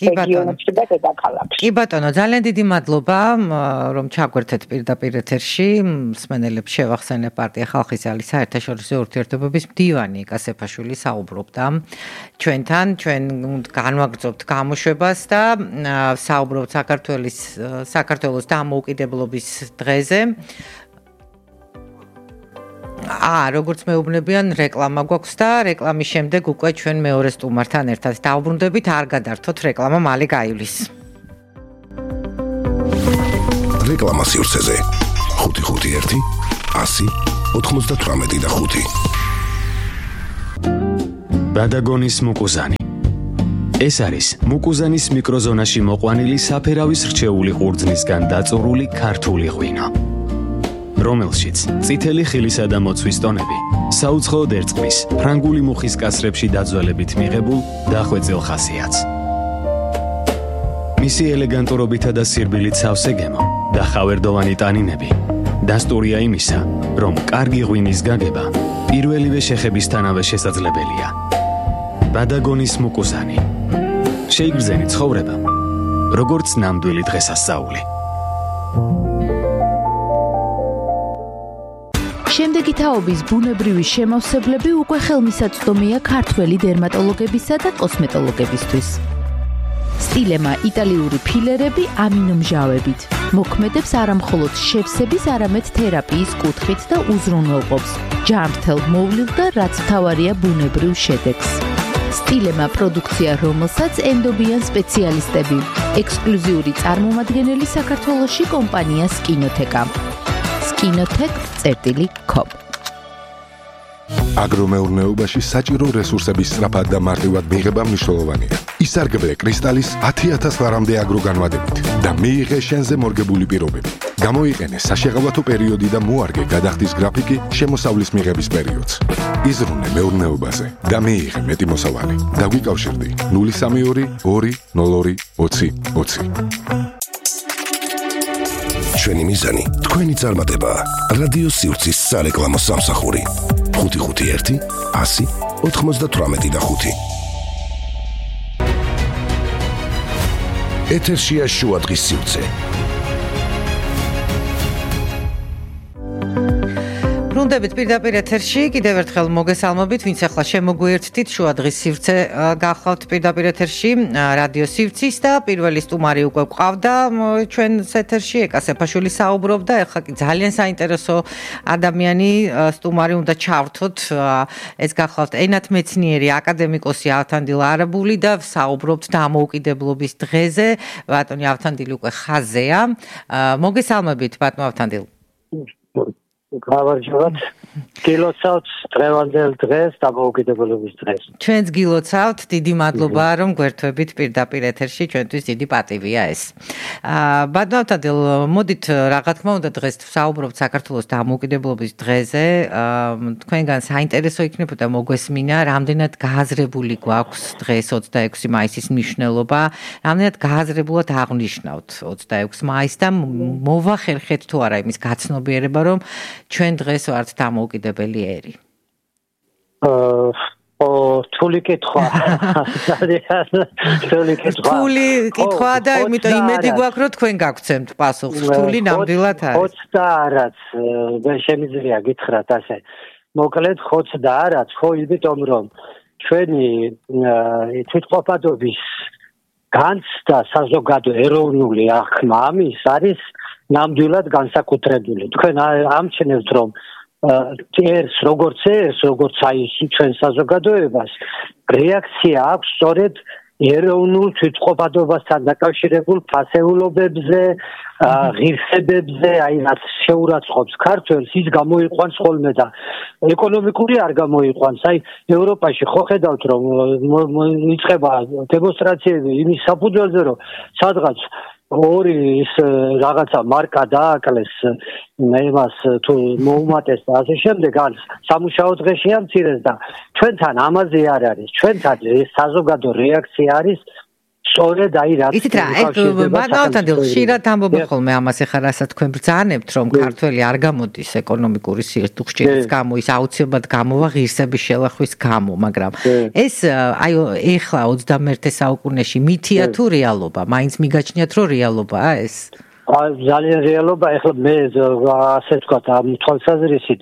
რეგიონებში და დედაქალაქში. კი ბატონო, ძალიან დიდი მადლობა, რომ ჩაგვერთეთ პირდაპირ ეთერში. მსმენელებს შევახსენებ პარტია ხალხის ძალის საერთაშორისო ურთიერთობების მდივანი კასეფაშვილი საუბრობდა ჩვენთან, ჩვენ განვაგრძობთ გამოშვება მეურნეობას და საუბრობთ საქართველოს საქართველოს დამოუკიდებლობის დღეზე. აა, როგორც მეუბნებიან, რეკლამა გვაქვს და რეკლამის შემდეგ უკვე ჩვენ მეორე სტუმართან ერთად დავბრუნდებით, არ გადართოთ, რეკლამა მალე გაივლის. რეკლამა სივრცეზე ხუთი ხუთი ერთი ასი ოთხმოცდათვრამეტი და ხუთი. ბადაგონის მუკუზანი. ეს არის მუკუზანის მიკროზონაში მოყვანილი საფერავის რჩეული ყურძნისგან დაწურული ქართული ღვინო, რომელშიც წითელი ხილისა და მოცვის ტონები საუცხოოდ ერწყმის ფრანგული მუხის კასრებში დაძველებით მიღებულ დახვეწილ ხასიათს. მისი ელეგანტურობითა და სირბილით სავსე გემო და ხავერდოვანი ტანინები დასტურია იმისა, რომ კარგი ღვინის გაგება პირველივე შეხებისთანავე შესაძლებელია. ბადაგონის მუკუზანი. შეიგრძენი ცხოვრება, როგორც ნამდვილი დღესასწაული. შემდეგი თაობის ბუნებრივი შემავსებლები უკვე ხელმისაწვდომია ქართველი დერმატოლოგებისა და კოსმეტოლოგებისთვის. სტილემა იტალიური ფილერები ამინომჟავებით მოქმედებს არამხოლოდ შევსების, არამედ თერაპიის კუთხით და უზრუნველყოფს ჯანმრთელ მოვლილ და რაც მთავარია ბუნებრივ შედეგს. სტილემა პროდუქცია, რომელსაც ენდობიან სპეციალისტები, ექსკლუზიური წარმომადგენელი საქართველოში კომპანია სკინოთეკა. სკინოთეკ წერტილი კომ. აგრომეურნეობაში საჭირო რესურსების სწრაფად და მარტივად მიღება მნიშვნელოვანია. ისარგებლე კრისტალის ათი ათას ლარამდე აგროგანვადებით და მიიღე შენზე მორგებული პირობები. გამოიყენე საშეღავათო პერიოდი და მოარგე გადახდის გრაფიკი შემოსავლის მიღების პერიოდს. იზრუნე მეურნეობაზე და მიიღე მეტი მოსავალი. დაგვიკავშირდი ნული სამი ორი ორი ნულ ორი ოცი ოცი. ჩვენი მიზანი თქვენი წარმატებაა. რადიო სივრცის სარეკლამო სამსახური. ხუთი ხუთი ერთი ასი ოთხმოცდათვრამეტი და ხუთი. ეთერშია შუა დღის სივრცე. ბრუნდებით პირდაპირ ეთერში, კიდევ ერთხელ მოგესალმებით, ვინც ახლა შემოგვიერთდით, შუა დღის სივრცე გახლავთ პირდაპირ ეთერში, რადიო სივრცის და პირველი სტუმარი უკვე გვყავდა ჩვენს ეთერში, ეკა სეფაშვილი საუბრობდა, ახლა კი ძალიან საინტერესო ადამიანი სტუმარი უნდა ჩავრთოთ, ეს გახლავთ ენათმეცნიერი აკადემიკოსი ავთანდილ არაბული და საუბრობთ დამოუკიდებლობის დღეზე, ბატონი ავთანდილი უკვე ხაზეა. მოგესალმებით, ბატონო ავთანდილ. გავარჯობათ. გილოცავთ დღევანდელ დღეს დამოუკიდებლობის დღეს. ჩვენც გილოცავთ, დიდი მადლობა რომ გვერთვებით პირდაპირ ეთერში, ჩვენთვის დიდი პატივია ეს. აა ბატონო ავთანდილ, მოდით რა თქმა უნდა დღეს ვსაუბრობთ საქართველოს დამოუკიდებლობის დღეზე. აა თქვენგან საინტერესო იქნებოდა მოგვესმინა, რამდენად გააზრებული გვაქვს დღეს ოცდაექვსი მაისის მნიშვნელობა, რამდენად გააზრებულად აღნიშნავთ ოცდაექვსი მაისს და მოვახერხეთ თუ არა იმის გაცნობიერება, რომ ჩვენ დღეს ვართ დამოუკიდებელი ერი. აა ო თული კითხვა. თული კითხვა. თული კითხვა და იმიტომ იმედი გვაქვს რომ თქვენ გაგცემთ პასუხს. თული ნამდვილად არის. ხოცდა არაც მე შემიძლია გითხრათ ასე. მოკლედ ხოცდა არაც, ხო იმიტომ რომ ჩვენი თვითყოფადობის განცდა საზოგადო ეროვნული აღქმა ამის არის ნამდვილად განსაკუთრებული. თქვენ ამჩნევთ რომ ერს როგორც ერს, როგორც აი ჩვენ საზოგადოებას რეაქცია აქვს სწორედ ეროვნულ თვითყოფადობასთან დაკავშირებულ ფასეულობებზე, ღირსებებზე, აი რაც შეურაცხყოფს ქართველს, ის გამოიყვანს ხოლმე და ეკონომიკური არ გამოიყვანს. აი ევროპაში ხო ხედავთ რომ იწყება დემონსტრაციები იმის საფუძველზე რომ სადღაც ორი ის რაღაცა მარკა დააკლეს იმას თუ მოუმატეს და ასე შემდეგ ან სამუშაო დღეში ამცირეს და ჩვენთან ამაზე არ არის. ჩვენთან ეს საზოგადო რეაქცია არის სწორედ აი რა. იცით რა, ეგ ბატონო ხშირად ამბობ ხოლმე ამას ახლა რასაც თქვენ ბრძანებთ რომ ქართველი არ გამოდის ეკონომიკური სიერთუხჭირის გამო, ის აუცილებლად გამოვა ღირსების შელახვის გამო, მაგრამ ეს აი ახლა ოცდამეერთე საუკუნეში მითია თუ რეალობა? მაინც მიგაჩნიათ რომ რეალობაა ეს? ძალიან რეალობა. ახლა მე ასე ვთქვათ ამ თვალსაზრისით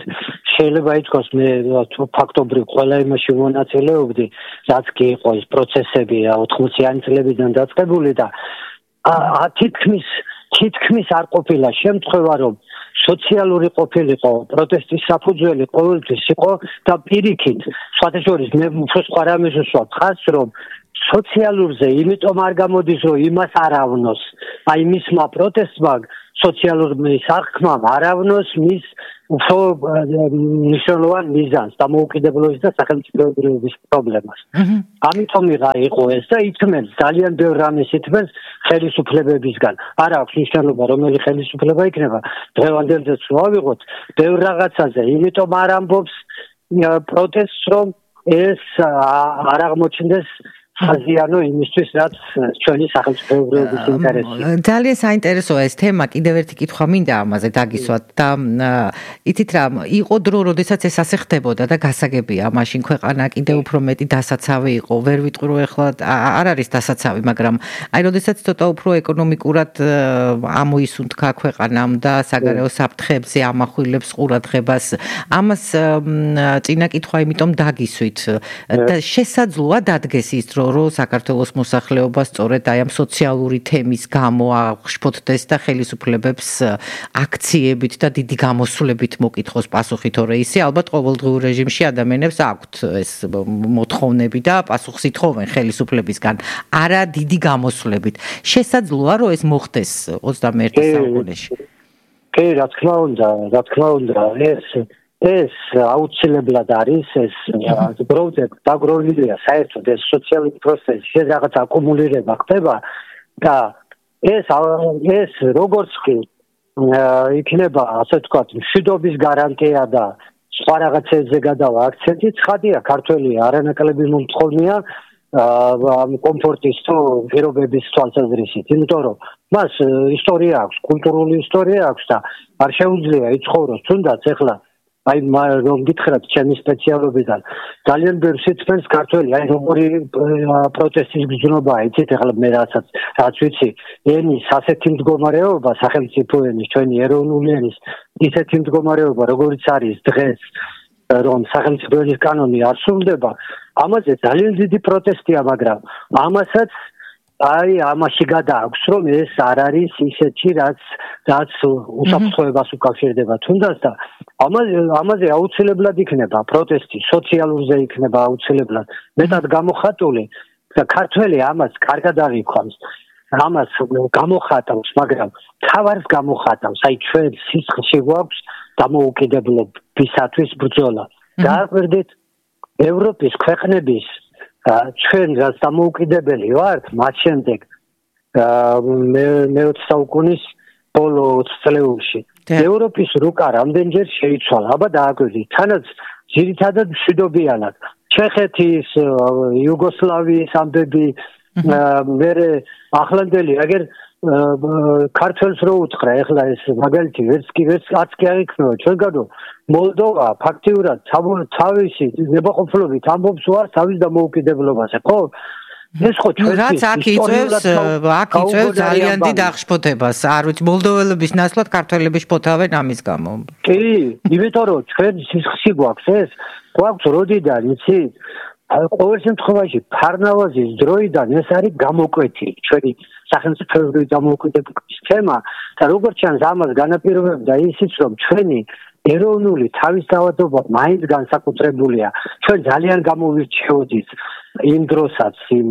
შეიძლება ითქვას მე ფაქტობრივ ყველა იმაში მონაწილეობდი, რაც კი იყო ის პროცესები ოთხმოციანი წლებიდან დაწყებული და თითქმის თითქმის არ ყოფილა შემთხვევა, რომ სოციალური ყოფილიყო პროტესტის საფუძველი ყოველთვის იყო და პირიქით, სხვათაშორის მე უფრო სხვა რამეს ვსვამ ხას, რომ სოციალურზე იმიტომ არ გამოდის, რომ იმას არ ავნოს, აი მისმა პროტესტმა სოციალურ სახქმამ არ ავნოს მის უფრო მნიშვნელოვან მიზანს დამოუკიდებლობის და სახელმწიფოებრიობის პრობლემას. ამიტომიღა იყო ეს და ითმენს ძალიან ბევრ რამეს ითმენს ხელისუფლებებისგან. არ აქვს მნიშვნელობა რომელი ხელისუფლება იქნება. დღევანდელ დღეს ვავიღოთ ბევრ რაღაცაზე, იმიტომ არ ამბობს პროტესტს, რომ ეს არ აღმოჩნდეს ხაზიანო იმისთვის, რაც ჩვენი სახელმწიფოებრიობის ინტერესია. ძალიან საინტერესოა ეს თემა, კიდევ ერთი კითხვა მინდა ამაზე დაგისვათ და იცით რა, იყო დრო, როდესაც ეს ასე ხდებოდა და გასაგებია, მაშინ ქვეყანა კიდევ უფრო მეტი დასაცავი იყო. ვერ ვიტყვი რომ ეხლა არ არის დასაცავი, მაგრამ აი როდესაც ცოტა უფრო ეკონომიკურად ამოისუნთქა ქვეყანამ და საგარეო საფრთხეებზე ამახვილებს ყურადღებას, ამას წინა კითხვა იმიტომ დაგისვით და შესაძლოა დადგეს ის დრო რომ საქართველოს მოსახლეობა სწორედ აი ამ სოციალური თემის გამო აღშფოთდეს და ხელისუფლებებს აქციებით და დიდი გამოსვლებით მოკითხოს პასუხი, თორე ისე ალბათ ყოველდღიურ რეჟიმში ადამიანებს აქვთ ეს მოთხოვნები და პასუხს ითხოვენ ხელისუფლებისგან, არა დიდი გამოსვლებით. შესაძლოა რომ ეს მოხდეს ოცდამეერთე საუკუნეში. კი, რა თქმა უნდა, რა თქმა უნდა, ეს ეს აუცილებლად არის ეს პროექტი დაგროვილია საერთოდ ეს სოციალური პროცესი რაღაც აკუმულირება ხდება და ეს ეს როგორც კი იქნება ასე ვთქვათ მშვიდობის გარანტია და სხვა რაღაცებზე გადავა აქცენტი ცხადია ქართველი არანაკლები მომთხოვნია ამ კომფორტის თუ პირობების თვალსაზრისით იმიტომ რომ მას ისტორია აქვს კულტურული ისტორია აქვს და არ შეუძლია იცხოვროს თუნდაც ახლა აი რომ გითხრათ ჩემი სპეციალობიდან ძალიან ბევრს იცნობს ქართველი აი როგორი პროტესტის გზნობაა იცით ახლა მე რასაც რაც ვიცი ენის ასეთი მდგომარეობა სახელმწიფო ენის ჩვენი ეროვნული ენის ისეთი მდგომარეობა როგორიც არის დღეს რომ სახელმწიფო ენის კანონი არ სრულდება ამაზე ძალიან დიდი პროტესტია მაგრამ ამასაც აი ამაში გადააქვს რომ ეს არ არის ისეთი რაც რაც უსაფრთხოებას უკავშირდება თუნდაც და ამაზე ამაზე აუცილებლად იქნება პროტესტი სოციალურზე იქნება აუცილებლად მეტად გამოხატული და ქართველი ამას კარგად აღიქვამს ამას გამოხატავს მაგრამ თავარს გამოხატავს აი ჩვენ სისხლში გვაქვს დამოუკიდებლობისათვის ბრძოლა დააკვირდით ევროპის ქვეყნების ჩვენ რაც დამოუკიდებელი ვართ მათ შემდეგ მეოცე საუკუნის ბოლო წლებში ევროპის რუკა რამდენჯერ შეიცვალა აბა დააკვირდით თანაც ძირითადად მშვიდობიანად ჩეხეთის იუგოსლავიის ამბები მერე ახლანდელი აგერ ქართველს რო უთხრა ეხლა ეს მაგალითი ვერც კი ვერც არც კი აღიქმნება ჩვენგანო მოლდოვა ფაქტიურად თავისი ნებაყოფლობით ამბობს ვარ თავის დამოუკიდებლობაზე ხო ეს ხო რაც აქ იწევს აქ იწევს ძალიან დიდ აღშფოთებას არ ვიცი მოლდოველების ნაცვლად ქართველები შფოთავენ ამის გამო კი იმიტომ რომ ჩვენ სისხლში გვაქვს ეს გვაქვს როდიდან იცით ყოველ შემთხვევაში ფარნავაზის დროიდან ეს არის გამოკვეთი ჩვენი სახელმწიფოებრივი დამოუკიდებლობის თემა და როგორც ჩანს ამას განაპირობებდა ისიც რომ ჩვენი ეროვნული თავისთავადობა მაინც განსაკუთრებულია ჩვენ ძალიან გამოვირჩეოდით იმ დროსაც იმ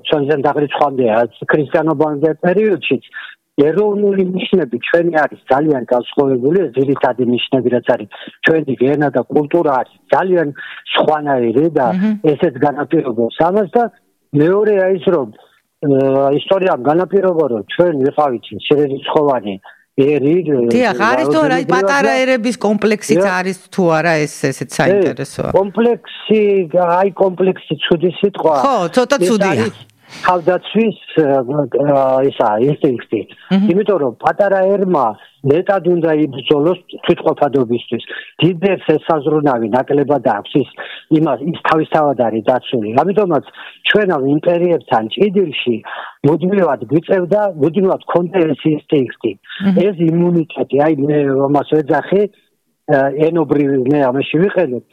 ჩვენთან დაღრიცხვამდე ქრისტიანობამდე პერიოდშიც ეროვნული ნიშნები ჩვენი არის ძალიან განსხვავებული ძირითადი ნიშნები რაც არის ჩვენი ენა და კულტურა არის ძალიან სხვანაირი და ესეც განაპირობებს ამას და მეორეა ის რომ ისტორიამ განაპირობა რომ ჩვენ ვიყავით შერეცხოვანი ერი დიახ არის თუ არა პატარა ერების კომპლექსიც არის თუ არა ეს ესეც საინტერესოა კომპლექსი აი კომპლექსი ცუდი სიტყვა ხო ცოტა ცუდია თავდაცვის ისა ინსტინქტი იმიტომ რომ პატარა ერმა მეტად უნდა იბრძოლოს თვითყოფადობისთვის დიდებს ესაზრუნავი ნაკლებად აქვს ის იმას ის თავისთავად არის დაცული ამიტომაც ჩვენავ იმპერიებთან ჭიდილში მუდმივად გვიწევდა მუდმივად ქონდა ეს ინსტინქტი ეს იმუნიტეტი აი მე ამას ვეძახი ენობრივი მე ამაში ვიყენებ,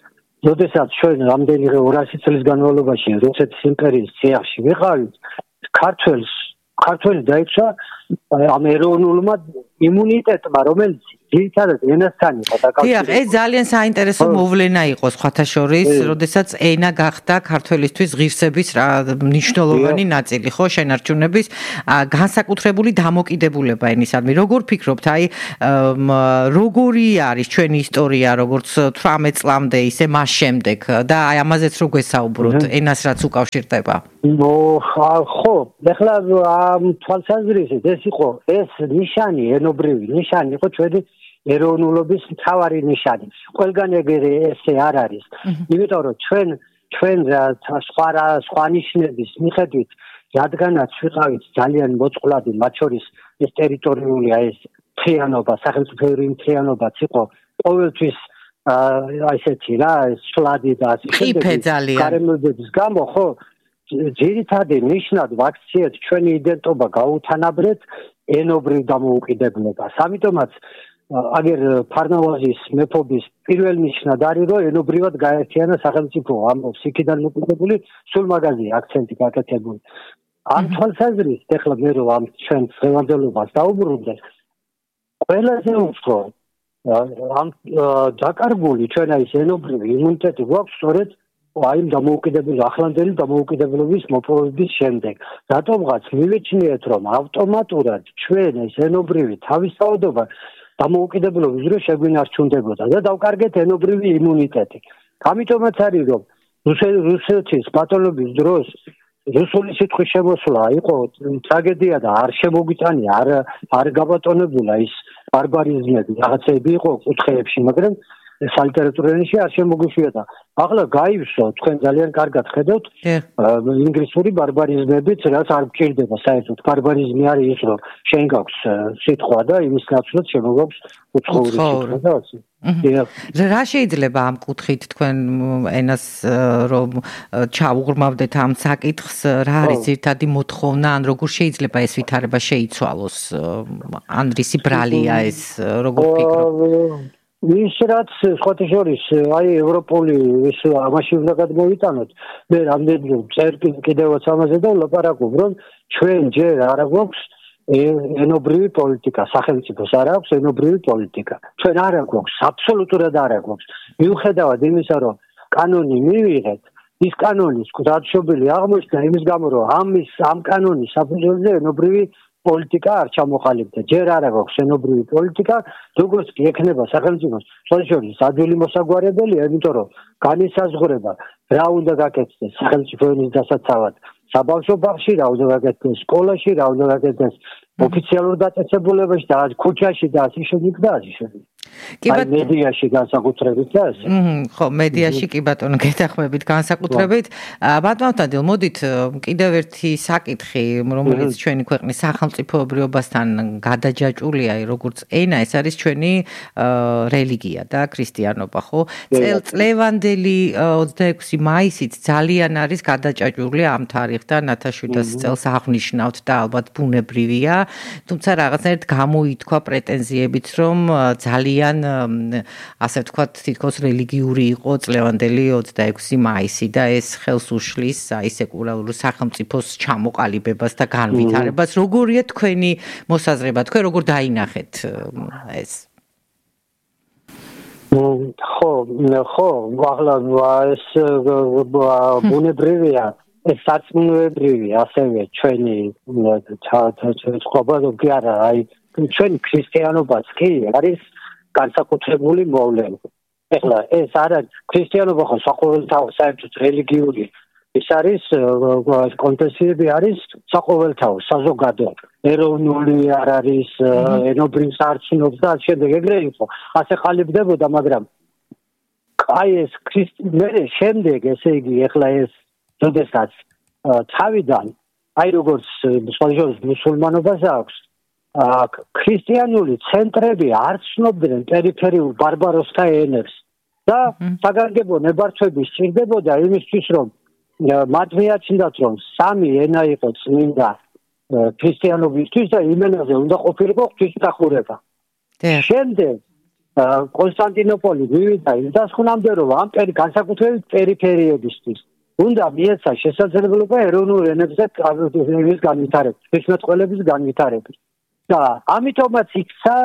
როდესაც ჩვენ რამდენი ორასი წლის განმავლობაში რუსეთის იმპერიის წიაღში ვიყავით, ქართველს ქართველი დაიწყო ამ ეროვნულმა იმუნიტეტმა, რომელიც ძირითადად ენასთან იყო დაკავშირებული. დიახ, ეს ძალიან საინტერესო მოვლენა იყო სხვათა შორის, როდესაც ენა გახდა ქართველისთვის ღირსების მნიშვნელოვანი ნაწილი, ხო, შენარჩუნების განსაკუთრებული დამოკიდებულება ენისადმი. როგორ ფიქრობთ, აი როგორი არის ჩვენი ისტორია, როგორც თვრამეტ წლამდე, ისე მას შემდეგ და აი ამაზეც რო გვესაუბროთ, ენას რაც უკავშირდება? ნო, ხო, ეხლა ამ თვალსაზრისით ეს იყო ეს ნიშანი, ენობრივი ნიშანი იყო ჩვენი ეროვნულობის მთავარი ნიშანი. ყველგან ეგრე ესე არ არის. იმიტომ რომ ჩვენ ჩვენ სხვა სხვა ნიშნების მიხედვით, რადგანაც ვიყავით ძალიან მოწყვლადი, მათ შორის ეს ტერიტორიული ეს მთლიანობა, სახელმწიფოური მთლიანობაც იყო ყოველთვის აი ესეთი რა, ეს შლადი და ასე შემდეგ. გარემოებების გამო, ხო, ძირითადი ნიშნად ვაქციეთ ჩვენი იდენტობა გაუთანაბრეთ ენობრივ დამოუკიდებლობას. ამიტომაც აგერ ფარნავაზის მეფობის პირველ ნიშნად არის, რომ ენობრივად გაერთიანა სახელმწიფო, ამბობს იქიდან მოკიდებული სულ მაგაზია აქცენტი გაკეთებული. ამ თვალსაზრისით ეხლა მე რომ ამ ჩვენ დღევანდელობას დაუბრუნდეთ, ყველაზე უფრო ამ დაკარგული ჩვენ ის ენობრივი იმუნიტეტი გვაქვს სწორედ აი დამოუკიდებელი ახლანდელი დამოუკიდებლობის მოპოვების შემდეგ. რატომღაც მივეჩნიეთ, რომ ავტომატურად ჩვენ ეს ენობრივი თავისთავადობა დამოუკიდებლობის დროს შეგვინარჩუნდებოდა და დავკარგეთ ენობრივი იმუნიტეტი. ამიტომაც არის, რომ რუსეთის ბატონობის დროს რუსული სიტყვის შემოსვლა იყო ტრაგედია და არ შემოგვიტანია, არ არ გაბატონებულა ის ბარბარიზმები, რაღაცები იყო კუთხეებში, მაგრამ სალიტერატუროში არ შემოგვიშვიოდა. ახლა გაივსო, თქვენ ძალიან კარგად ხედავთ, ინგლისური ბარბარიზმებით, რაც არ გჭირდება საერთოდ. ბარბარიზმი არის ის, რომ შენ გაქვს სიტყვა და იმის ნაცვლად შემოგვაქვს უცხოური სიტყვა და ასე. რა შეიძლება ამ კუთხით თქვენ ენას რომ ჩაუღრმავდეთ ამ საკითხს, რა არის ძირითადი მოთხოვნა, ან როგორ შეიძლება ეს ვითარება შეიცვალოს? ან რისი ბრალია ეს, როგორ ფიქრობთ? ის რაც სხვათა შორის აი ევროპული ის ამაში უნდა გადმოვიტანოთ. მე რამდენი წერ კიდევაც ამაზე და ვლაპარაკობ, რომ ჩვენ ჯერ არ გვაქვს ენობრივი პოლიტიკა, სახელმწიფოს არ აქვს ენობრივი პოლიტიკა. ჩვენ არ გვაქვს, აბსოლუტურად არ გვაქვს. მიუხედავად იმისა, რომ კანონი მივიღეთ, ის კანონის გზადშობილი აღმოჩნდა იმის გამო, რომ ამის ამ კანონის საფუძველზე ენობრივი პოლიტიკა არ ჩამოყალიბდა. ჯერ არ აქვს ენობრივი პოლიტიკა, როგორც კი ექნება სახელმწიფოს შორის ადვილი მოსაგვარებელია, იმიტომ რომ განისაზღვრება რა უნდა გაკეთდეს სახელმწიფო ენის დასაცავად საბავშვო ბაღში, რა უნდა გაკეთდეს სკოლაში, რა უნდა გაკეთდეს ოფიციალურ დაწესებულებაში და ქუჩაში და ასე შემდეგ და ასე შემდეგ. აი მედიაში განსაკუთრებით და ასე. ხო, მედიაში კი ბატონო გეთახმებით განსაკუთრებით. ბატონო, მოდით კიდევ ერთი საკითხი, რომელიც ჩვენი ქვეყნის სახელმწიფოებრიობასთან გადაჯაჭვულია, როგორც ენა, ეს არის ჩვენი რელიგია და ქრისტიანობა, ხო? წელწლევანდელი ოცდაექვსი მაისით ძალიან არის გადაჭაჭვული ამ თარიღთან ათას შვიდასი წელს აღნიშნავთ და ალბათ ბუნებრივია, თუმცა რაღაცნაირად გამოითქვა პრეტენზიებიც, რომ ძალიან ასე ვთქვათ, თითქოს რელიგიური იყო წლევანდელი ოცდაექვსი მაისი და ეს ხელს უშლის აი სეკულარული სახელმწიფოს ჩამოყალიბებას და განვითარებას. როგორია თქვენი მოსაზრება? თქვენ როგორ დაინახეთ ეს? ხო, ხო, ახლა ეს ბუნებრივია, ეს სარწმუნოებრივი, ასევე ჩვენი ცხოვრება კი არა, აი ჩვენი ქრისტიანობაც კი არის განსაკუთრებული მოვლენა. ეხლა ეს არა ქრისტიანობა ხო საყოველთაო საერთოდ რელიგიური ის არის კონფესიები არის საყოველთაო საზოგადო ეროვნული არ არის ენობრივ სარწმუნოებს და შემდეგ ეგრე იყო ასე ყალიბდებოდა მაგრამ აი ეს ქრისტიანობა შემდეგ ესე იგი ეხლა ეს როდესაც თავიდან აი როგორც სხვადასხვა მუსულმანობას აქვს ქრისტიანული ცენტრები არ ცნობდნენ პერიფერიულ ბარბაროსთა ენებს და საგანგებო ნებართვები სჭირდებოდა იმისთვის რომ მათ მიაჩნდათ რომ სამი ენა იყო წმინდა ქრისტიანობისთვის და იმ ენაზე უნდა ყოფილიყო ღვთისმსახურება. შემდეგ კონსტანტინოპოლი მივიდა იმ დასკვნამდე, რომ ამ განსაკუთრებით პერიფერიებისთვის უნდა მიეცა შესაძლებლობა ეროვნულ ენებზე ის განვითარების, ხმელეთის განვითარების. და ამიტომაც იქცა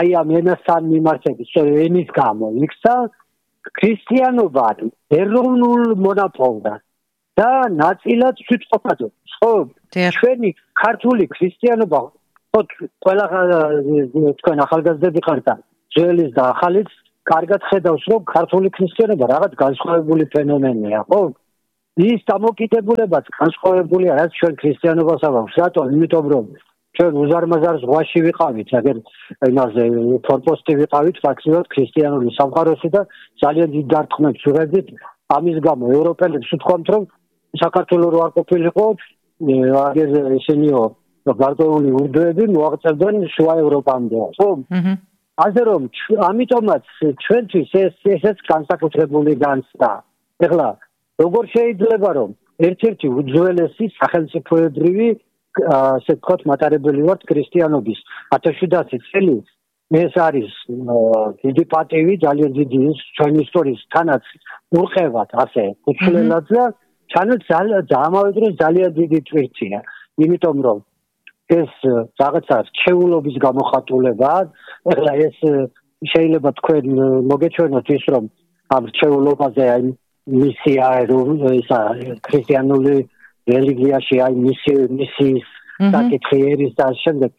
აი ამ ენასთან მიმართების, ენის გამო იქცა ქრისტიანობა ეროვნულ მონაპოლად და ნაწილად თვითყოფადობა. ხო, ჩვენი ქართული ქრისტიანობა, ხო, ყველა თქვენ ახალგაზრდები ხართ და ძველის და ახალიც კარგად ხედავს, რომ ქართული ქრისტიანობა რაღაც განსხვავებული ფენომენია, ხო? ის დამოკიდებულებაც განსხვავებულია, რაც ჩვენ ქრისტიანობას აქვს. რატომ? იმიტომ რომ ჩვენ უზარმაზარ ზღვაში ვიყავით, აგერ იმაზე ფორპოსტი ვიყავით ფაქტიურად ქრისტიანული სამყაროში და ძალიან დიდ დარტყმებს ვიღებდით. ამის გამო ევროპელებს ვთქვამთ, რომ საქართველოს რო არ ყოფილიყო, აგერ ისინიო გარკვეული ურდოები მოაღწევდნენ შუა ევროპამდე, ხო? ასე რომ ამიტომაც ჩვენთვის ეს ესეც განსაკუთრებული განცდა. ეხლა როგორ შეიძლება რომ ერთ-ერთი უძველესი სახელმწიფოებრივი ასე ვთქვათ მატარებელი ვართ ქრისტიანობის ათას შვიდასი წელი ეს არის დიდი პატივი ძალიან დიდი ჩვენი ისტორიის თანაც ურყევად ასე უცვლელად და თანაც ამავე დროს ძალიან დიდი თვირთია იმიტომ რომ ეს რაღაცა რჩეულობის გამოხატულებაა ეხლა ეს შეიძლება თქვენ მოგეჩვენოთ ის რომ ამ რჩეულობაზე აი მისია ისა ქრისტიანული რელიგიაში აი მისი მისიის საკითხი ერის და შემდეგ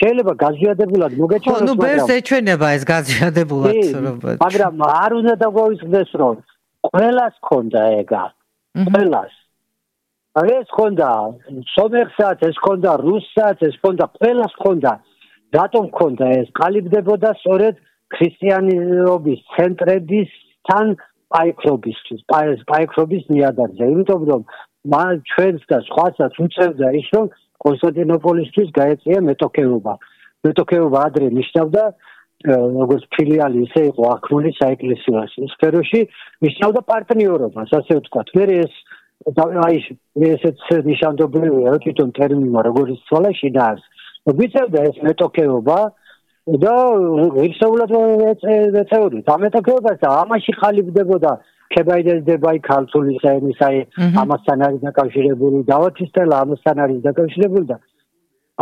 შეიძლება გაზიადებულად მოგეჩვენოს მაგრამ ნუ ბერს ეჩვენება ეს გაზიადებულად მაგრამ არ უნდა დაგვაისხდეს რომ ყველას ქონდა ეგა ყველას ეს ქონდა სომეხსაც ეს ქონდა რუსსაც ეს ქონდა ყველას ქონდა რატომ ქონდა ეს ყალიბდებოდა სწორედ ქრისტიანობის ცენტრებისთან პაიქრობისთვის პაიქრობის ნიადაგზე იმიტომ რომ მან ჩვენს და სხვასაც უწევდა ის რომ კონსტანტინოპოლისთვის გაეწია მეტოქეობა მეტოქეობა ადრე ნიშნავდა როგორც ფილიალი ისე იყო აქრული საეკლესიო სფეროში ნიშნავდა პარტნიორობას ასე ვთქვათ მე ეს აი ესეც ნიშანდობლივია თვითონ ტერმინმა როგორც ცვალა შინაარს ვიცევდა ეს მეტოქეობა და ისეულად ეწეოდით ამ მეტოქეობას და ამაში ხალიფდებოდა ქებაიდელდებაი ქართული საენის აი ამასთან არის დაკავშირებული დავათისტელა ამასთან არის დაკავშირებული და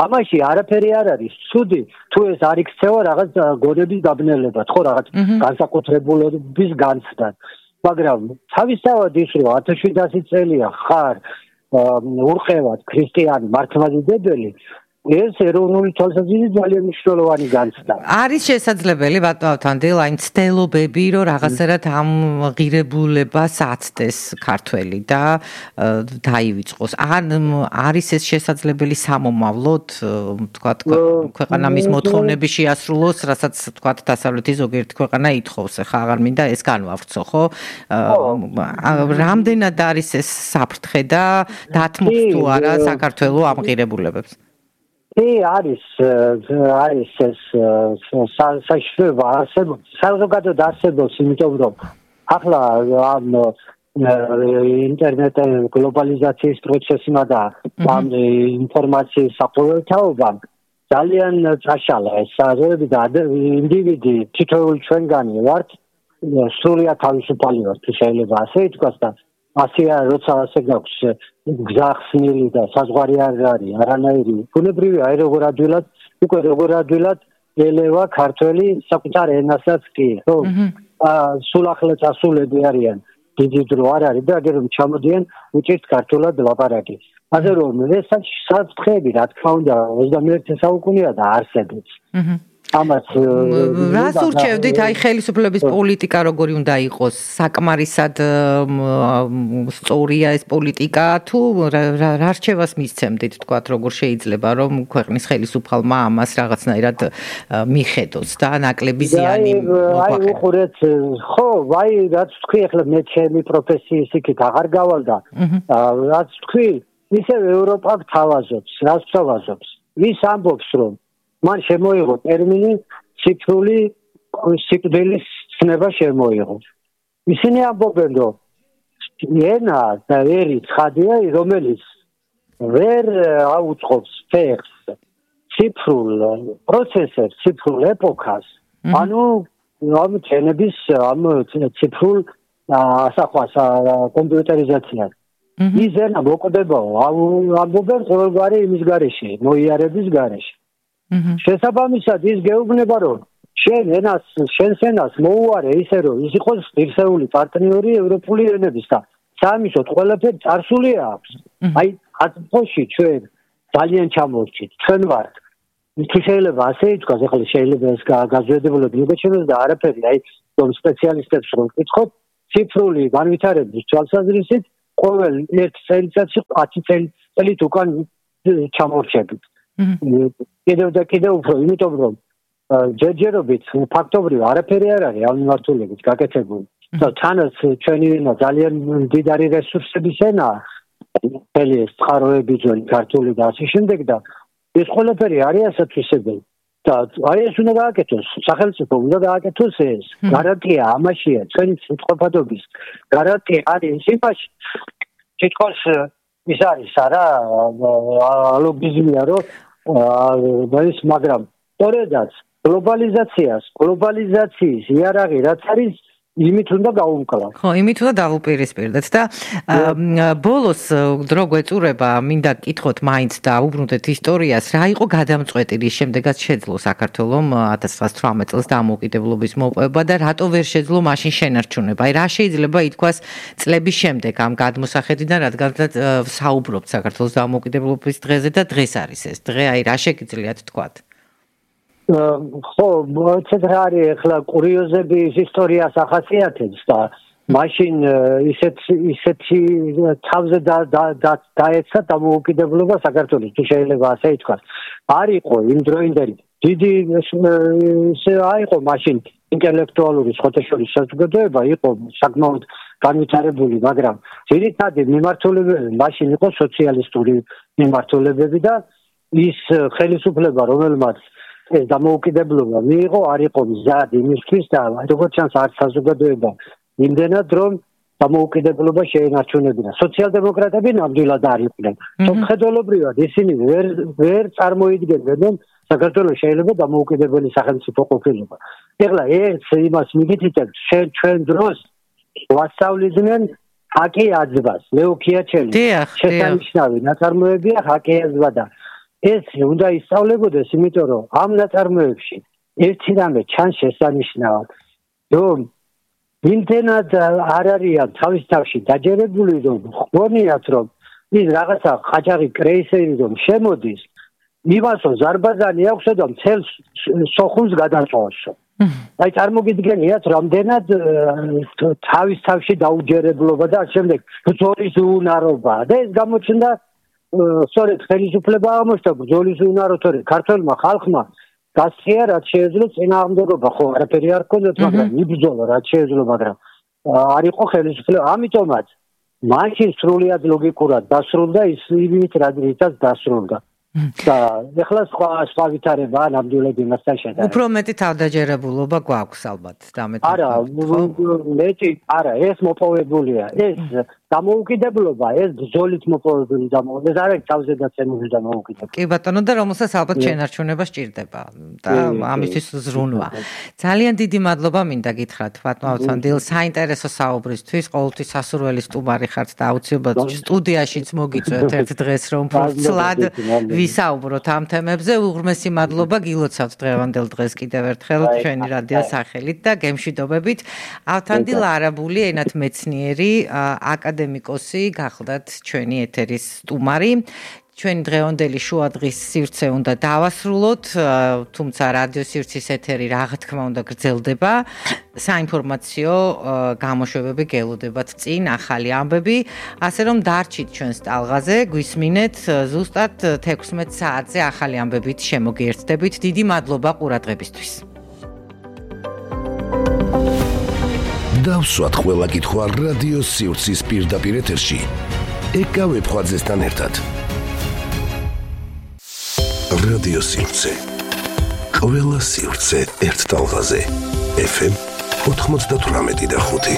ამაში არაფერი არ არის ცუდი თუ ეს არ იქცევა რაღაც გონების დაბნელებად ხო რაღაც განსაკუთრებულობის განცდად მაგრამ თავისთავად ის რომ ათას შვიდასი წელია ხარ ურყევად ქრისტიანი მართლმადიდებელი ეს ეროვნული თვალსაზრისით ძალიან მნიშვნელოვანი განცდა. არის შესაძლებელი ბატონო თანდილ აი მცდელობები რომ რაღაცერად ამ ღირებულებას აცდეს ქართველი და დაივიწყოს. ან არის ეს შესაძლებელი სამომავლოდ თქვათ ქვეყანამის მოთხოვნები შეასრულოს, რასაც თქვათ დასავლეთის ზოგიერთი ქვეყანა ითხოვს. ხა აღარ მინდა ეს განვავრცო, ხო? რამდენად არის ეს საფრთხე და დათმობს თუ არა საქართველოს ამ ღირებულებებს? კი არის არის ეს საშუალება არსებობს საზოგადოებრივ არსებობს იმიტომ რომ ახლა ამ ინტერნეტ გლობალიზაციის პროცესმა და ამ ინფორმაციის საყოველთაობამ ძალიან წაშალა ეს საზოგადოება და ინდივიდი თითოეული ჩვენგანი ვართ სრულიად თავისუფალი ვართ შეიძლება ასე ითქვას და ასია როცა ასე გაქვს გზახსნილი და საზღვარი არ არის არანაირი ბუნებრივია აი როგორ ადვილად უკვე როგორ ადვილად ელევა ქართველი საკუთარ ენასაც კი ხო სულ ახლა წასულები არიან დიდი დრო არ არის და აგერ ჩამოდიან უჭირთ ქართულად ლაპარაკი ასე რომ ეს საფრთხეები რა თქმა უნდა ოცდამეერთე საუკუნეა და არსებობს ამას რას ურჩევდით აი ხელისუფლების პოლიტიკა როგორი უნდა იყოს საკმარისად სწორია ეს პოლიტიკა თუ რა რჩევას მისცემდით თქვათ როგორ შეიძლება რომ ქვეყნის ხელისუფალმა ამას რაღაცნაირად მიხედოს და ნაკლები ზიანი მოაყენოს აი უყურეთ ხო აი რაც თქვი ახლა მე ჩემი პროფესიის იქით აღარ გავალდა რაც თქვი ისე ევროპა გთავაზობს რას გთავაზობს ვის ამბობს რომ მან შემოიღო ტერმინი ციფრული სიკვდილის ცნება შემოიღო. ისინი ამბობენ რომ ენა და ერი ცხადია რომელიც ვერ აუწყობს ფეხს ციფრულ პროცესებს, ციფრულ ეპოქას. ანუ ამ ჩენების ამ ციფრულ ასახვას კომპიუტერიზაციას. ის ენა მოკვდებაო, ამბობენ ყოველგვარი იმის გარეშე, მოიარების გარეშე. შესაბამისად ის გეუბნება, რომ შენ ენას, შენს ენას მოუარე ისე, რომ ის იყოს ღირსეული პარტნიორი ევროპული ენების და სამისოთ ყველაფერი წარსული აქვს. აი, ათფოში ჩვენ ძალიან ჩამორჩით, ჩვენ ვართ. თუ შეიძლება ასე ითქვას, ახლა შეიძლება ეს გაზვედებულად მიგეჩვენოს და არაფერი, აი, რომ სპეციალისტებს რომ ვკითხოთ, ციფრული განვითარების თვალსაზრისით ყოველ ერთ წელიწადში ათი წელით უკან ჩამორჩებით. კიდევ და კიდევ უფრო, იმიტომ რომ ჯერჯერობით ფაქტობრივ არაფერი არ არის ამ მიმართულებით გაკეთებული. და თანაც ჩვენი ენა ძალიან მდიდარი რესურსების ენაა. მთელი ეს წყაროები, ძველი ქართული და ასე შემდეგ და ეს ყველაფერი არის ასათვისებელი. და აი ეს უნდა გააკეთოს, სახელმწიფო უნდა გააკეთოს ეს. გარანტია ამაშია, ჩვენი სიტყვაფადობის გარანტია არის იმაში, თითქოს ის არის არა ლოგიზმია, რომ ის მაგრამ სწორედაც გლობალიზაციას, გლობალიზაციის იარაღი რაც არის იმით უნდა გაუმკლავ. ხო, იმით უნდა დავუპირისპირდეთ და ბოლოს დრო გვეწურება, მინდა გკითხოთ მაინც და უბრუნდეთ ისტორიას, რა იყო გადამწყვეტი, რის შემდეგაც შეძლო საქართველომ ათას ცხრაასი თვრამეტ წელს დამოუკიდებლობის მოპოვება და რატო ვერ შეძლო მაშინ შენარჩუნება? აი, რა შეიძლება ითქვას წლების შემდეგ ამ გადმოსახედიდან, რადგანაც საუბრობთ საქართველოს დამოუკიდებლობის დღეზე და დღეს არის ეს დღე, აი, რა შეგიძლიათ თქვათ? ხო, ცოტა რა არის ახლა კურიოზები ის ისტორიას ახასიათებს და მაშინ ისეთ ისეთი თავზე დაეცა დამოუკიდებლობა საქართველოს, თუ შეიძლება ასე ითქვას. არ იყო იმ დროინდელი დიდი ისე აიყო მაშინ ინტელექტუალური ხოთეშორის საზოგადოება იყო საკმაოდ განვითარებული, მაგრამ ძირითადი მიმართულებები მაშინ იყო სოციალისტური მიმართულებები და ის ხელისუფლება, რომელმაც ეს დამოუკიდებლობა მიიღო, არ იყო მზად იმისთვის და როგორც ჩანს არც საზოგადოება იმდენად რომ დამოუკიდებლობა შეენარჩუნებინა. სოციალ-დემოკრატები ნამდვილად არ იყვნენ. სამხედროებრივად ისინი ვერ ვერ წარმოიდგენდნენ საქართველოს შეიძლება დამოუკიდებელი სახელმწიფო ყოფილება. ეხლა ეს იმას მიგითითებთ, ჩვენ დროს ვასწავლიდნენ ჰაკი აძბას, ლეო ქიაჩელი. შესანიშნავი ნაწარმოებია ჰაკი აძბა და ეს უნდა ისწავლებოდეს, იმიტომ რომ ამ ნაწარმოებში ერთი რამე ჩანს შესანიშნავად, რომ იმდენად არ არიან თავის თავში დაჯერებული, რომ ხმონიათ, რომ ის რაღაცა ყაჭაღი კრეისერი რომ შემოდის, იმასო ზარბაზანი აქვს და მთელ სოხუმს გადაწყვეტს. აი წარმოგიდგენიათ, რამდენად თავის თავში დაუჯერებლობა და ამ შემდეგ ბრძოლის უნარობა და ეს გამოჩნდა სწორედ ხელისუფლება აღმოჩნდა ბრძოლის უნაროთორე ქართველმა ხალხმა გასწია რაც შეეძლო წინააღმდეგობა, ხო არაფერი არ ჰქონდათ, მაგრამ იბრძოლა რაც შეეძლო, მაგრამ არ იყო ხელისუფლება, ამიტომაც მაშინ სრულიად ლოგიკურად დასრულდა ის იმით რადგანაც დასრულდა. და ეხლა სხვა სხვა ვითარება ნამდვილად იმასთან შედარებით. უფრო მეტი თავდაჯერებულობა გვაქვს ალბათ და მეტი. არა, მეტი, არა, ეს მოპოვებულია. ეს დამოუკიდებლობა, ეს ბრძოლით მოპოვებული დამოუკიდებლობა, ეს არის თავზე დაცემული დამოუკიდებლობა. კი ბატონო, და რომელსაც ალბათ შენარჩუნება სჭირდება და ამისთვის ზრუნვა. ძალიან დიდი მადლობა მინდა გითხრათ ბატონო ავთანდილ, საინტერესო საუბრისთვის, ყოველთვის სასურველი სტუმარი ხართ და აუცილებლად სტუდიაშიც მოგიწვევთ ერთ დღეს რომ ფლად ვისაუბროთ ამ თემებზე. უღრმესი მადლობა გილოცავთ დღევანდელ დღეს კიდევ ერთხელ ჩვენი რადიოს სახელით და გემშვიდობებით. ავთანდილ არაბული ენათმეცნიერი აკადემიკოსი გახლდათ ჩვენი ეთერის სტუმარი. ჩვენი დღევანდელი შუადღის სივრცე უნდა დავასრულოთ, თუმცა რადიო სივრცის ეთერი რა თქმა უნდა გრძელდება. საინფორმაციო გამოშვებები გელოდებათ წინ, ახალი ამბები, ასე რომ დარჩით ჩვენს ტალღაზე, გვისმინეთ ზუსტად თექვსმეტ საათზე ახალი ამბებით შემოგიერთდებით. დიდი მადლობა ყურადღებისთვის. დავსვათ ყველა კითხვა რადიო სივრცის პირდაპირ ეთერში. ეკავებ ხვაძესთან ერთად. რადიო სივრცე. ყველა სივრცე ერთ ტალღაზე. ეფ ემ ოთხმოცდათვრამეტი და ხუთი.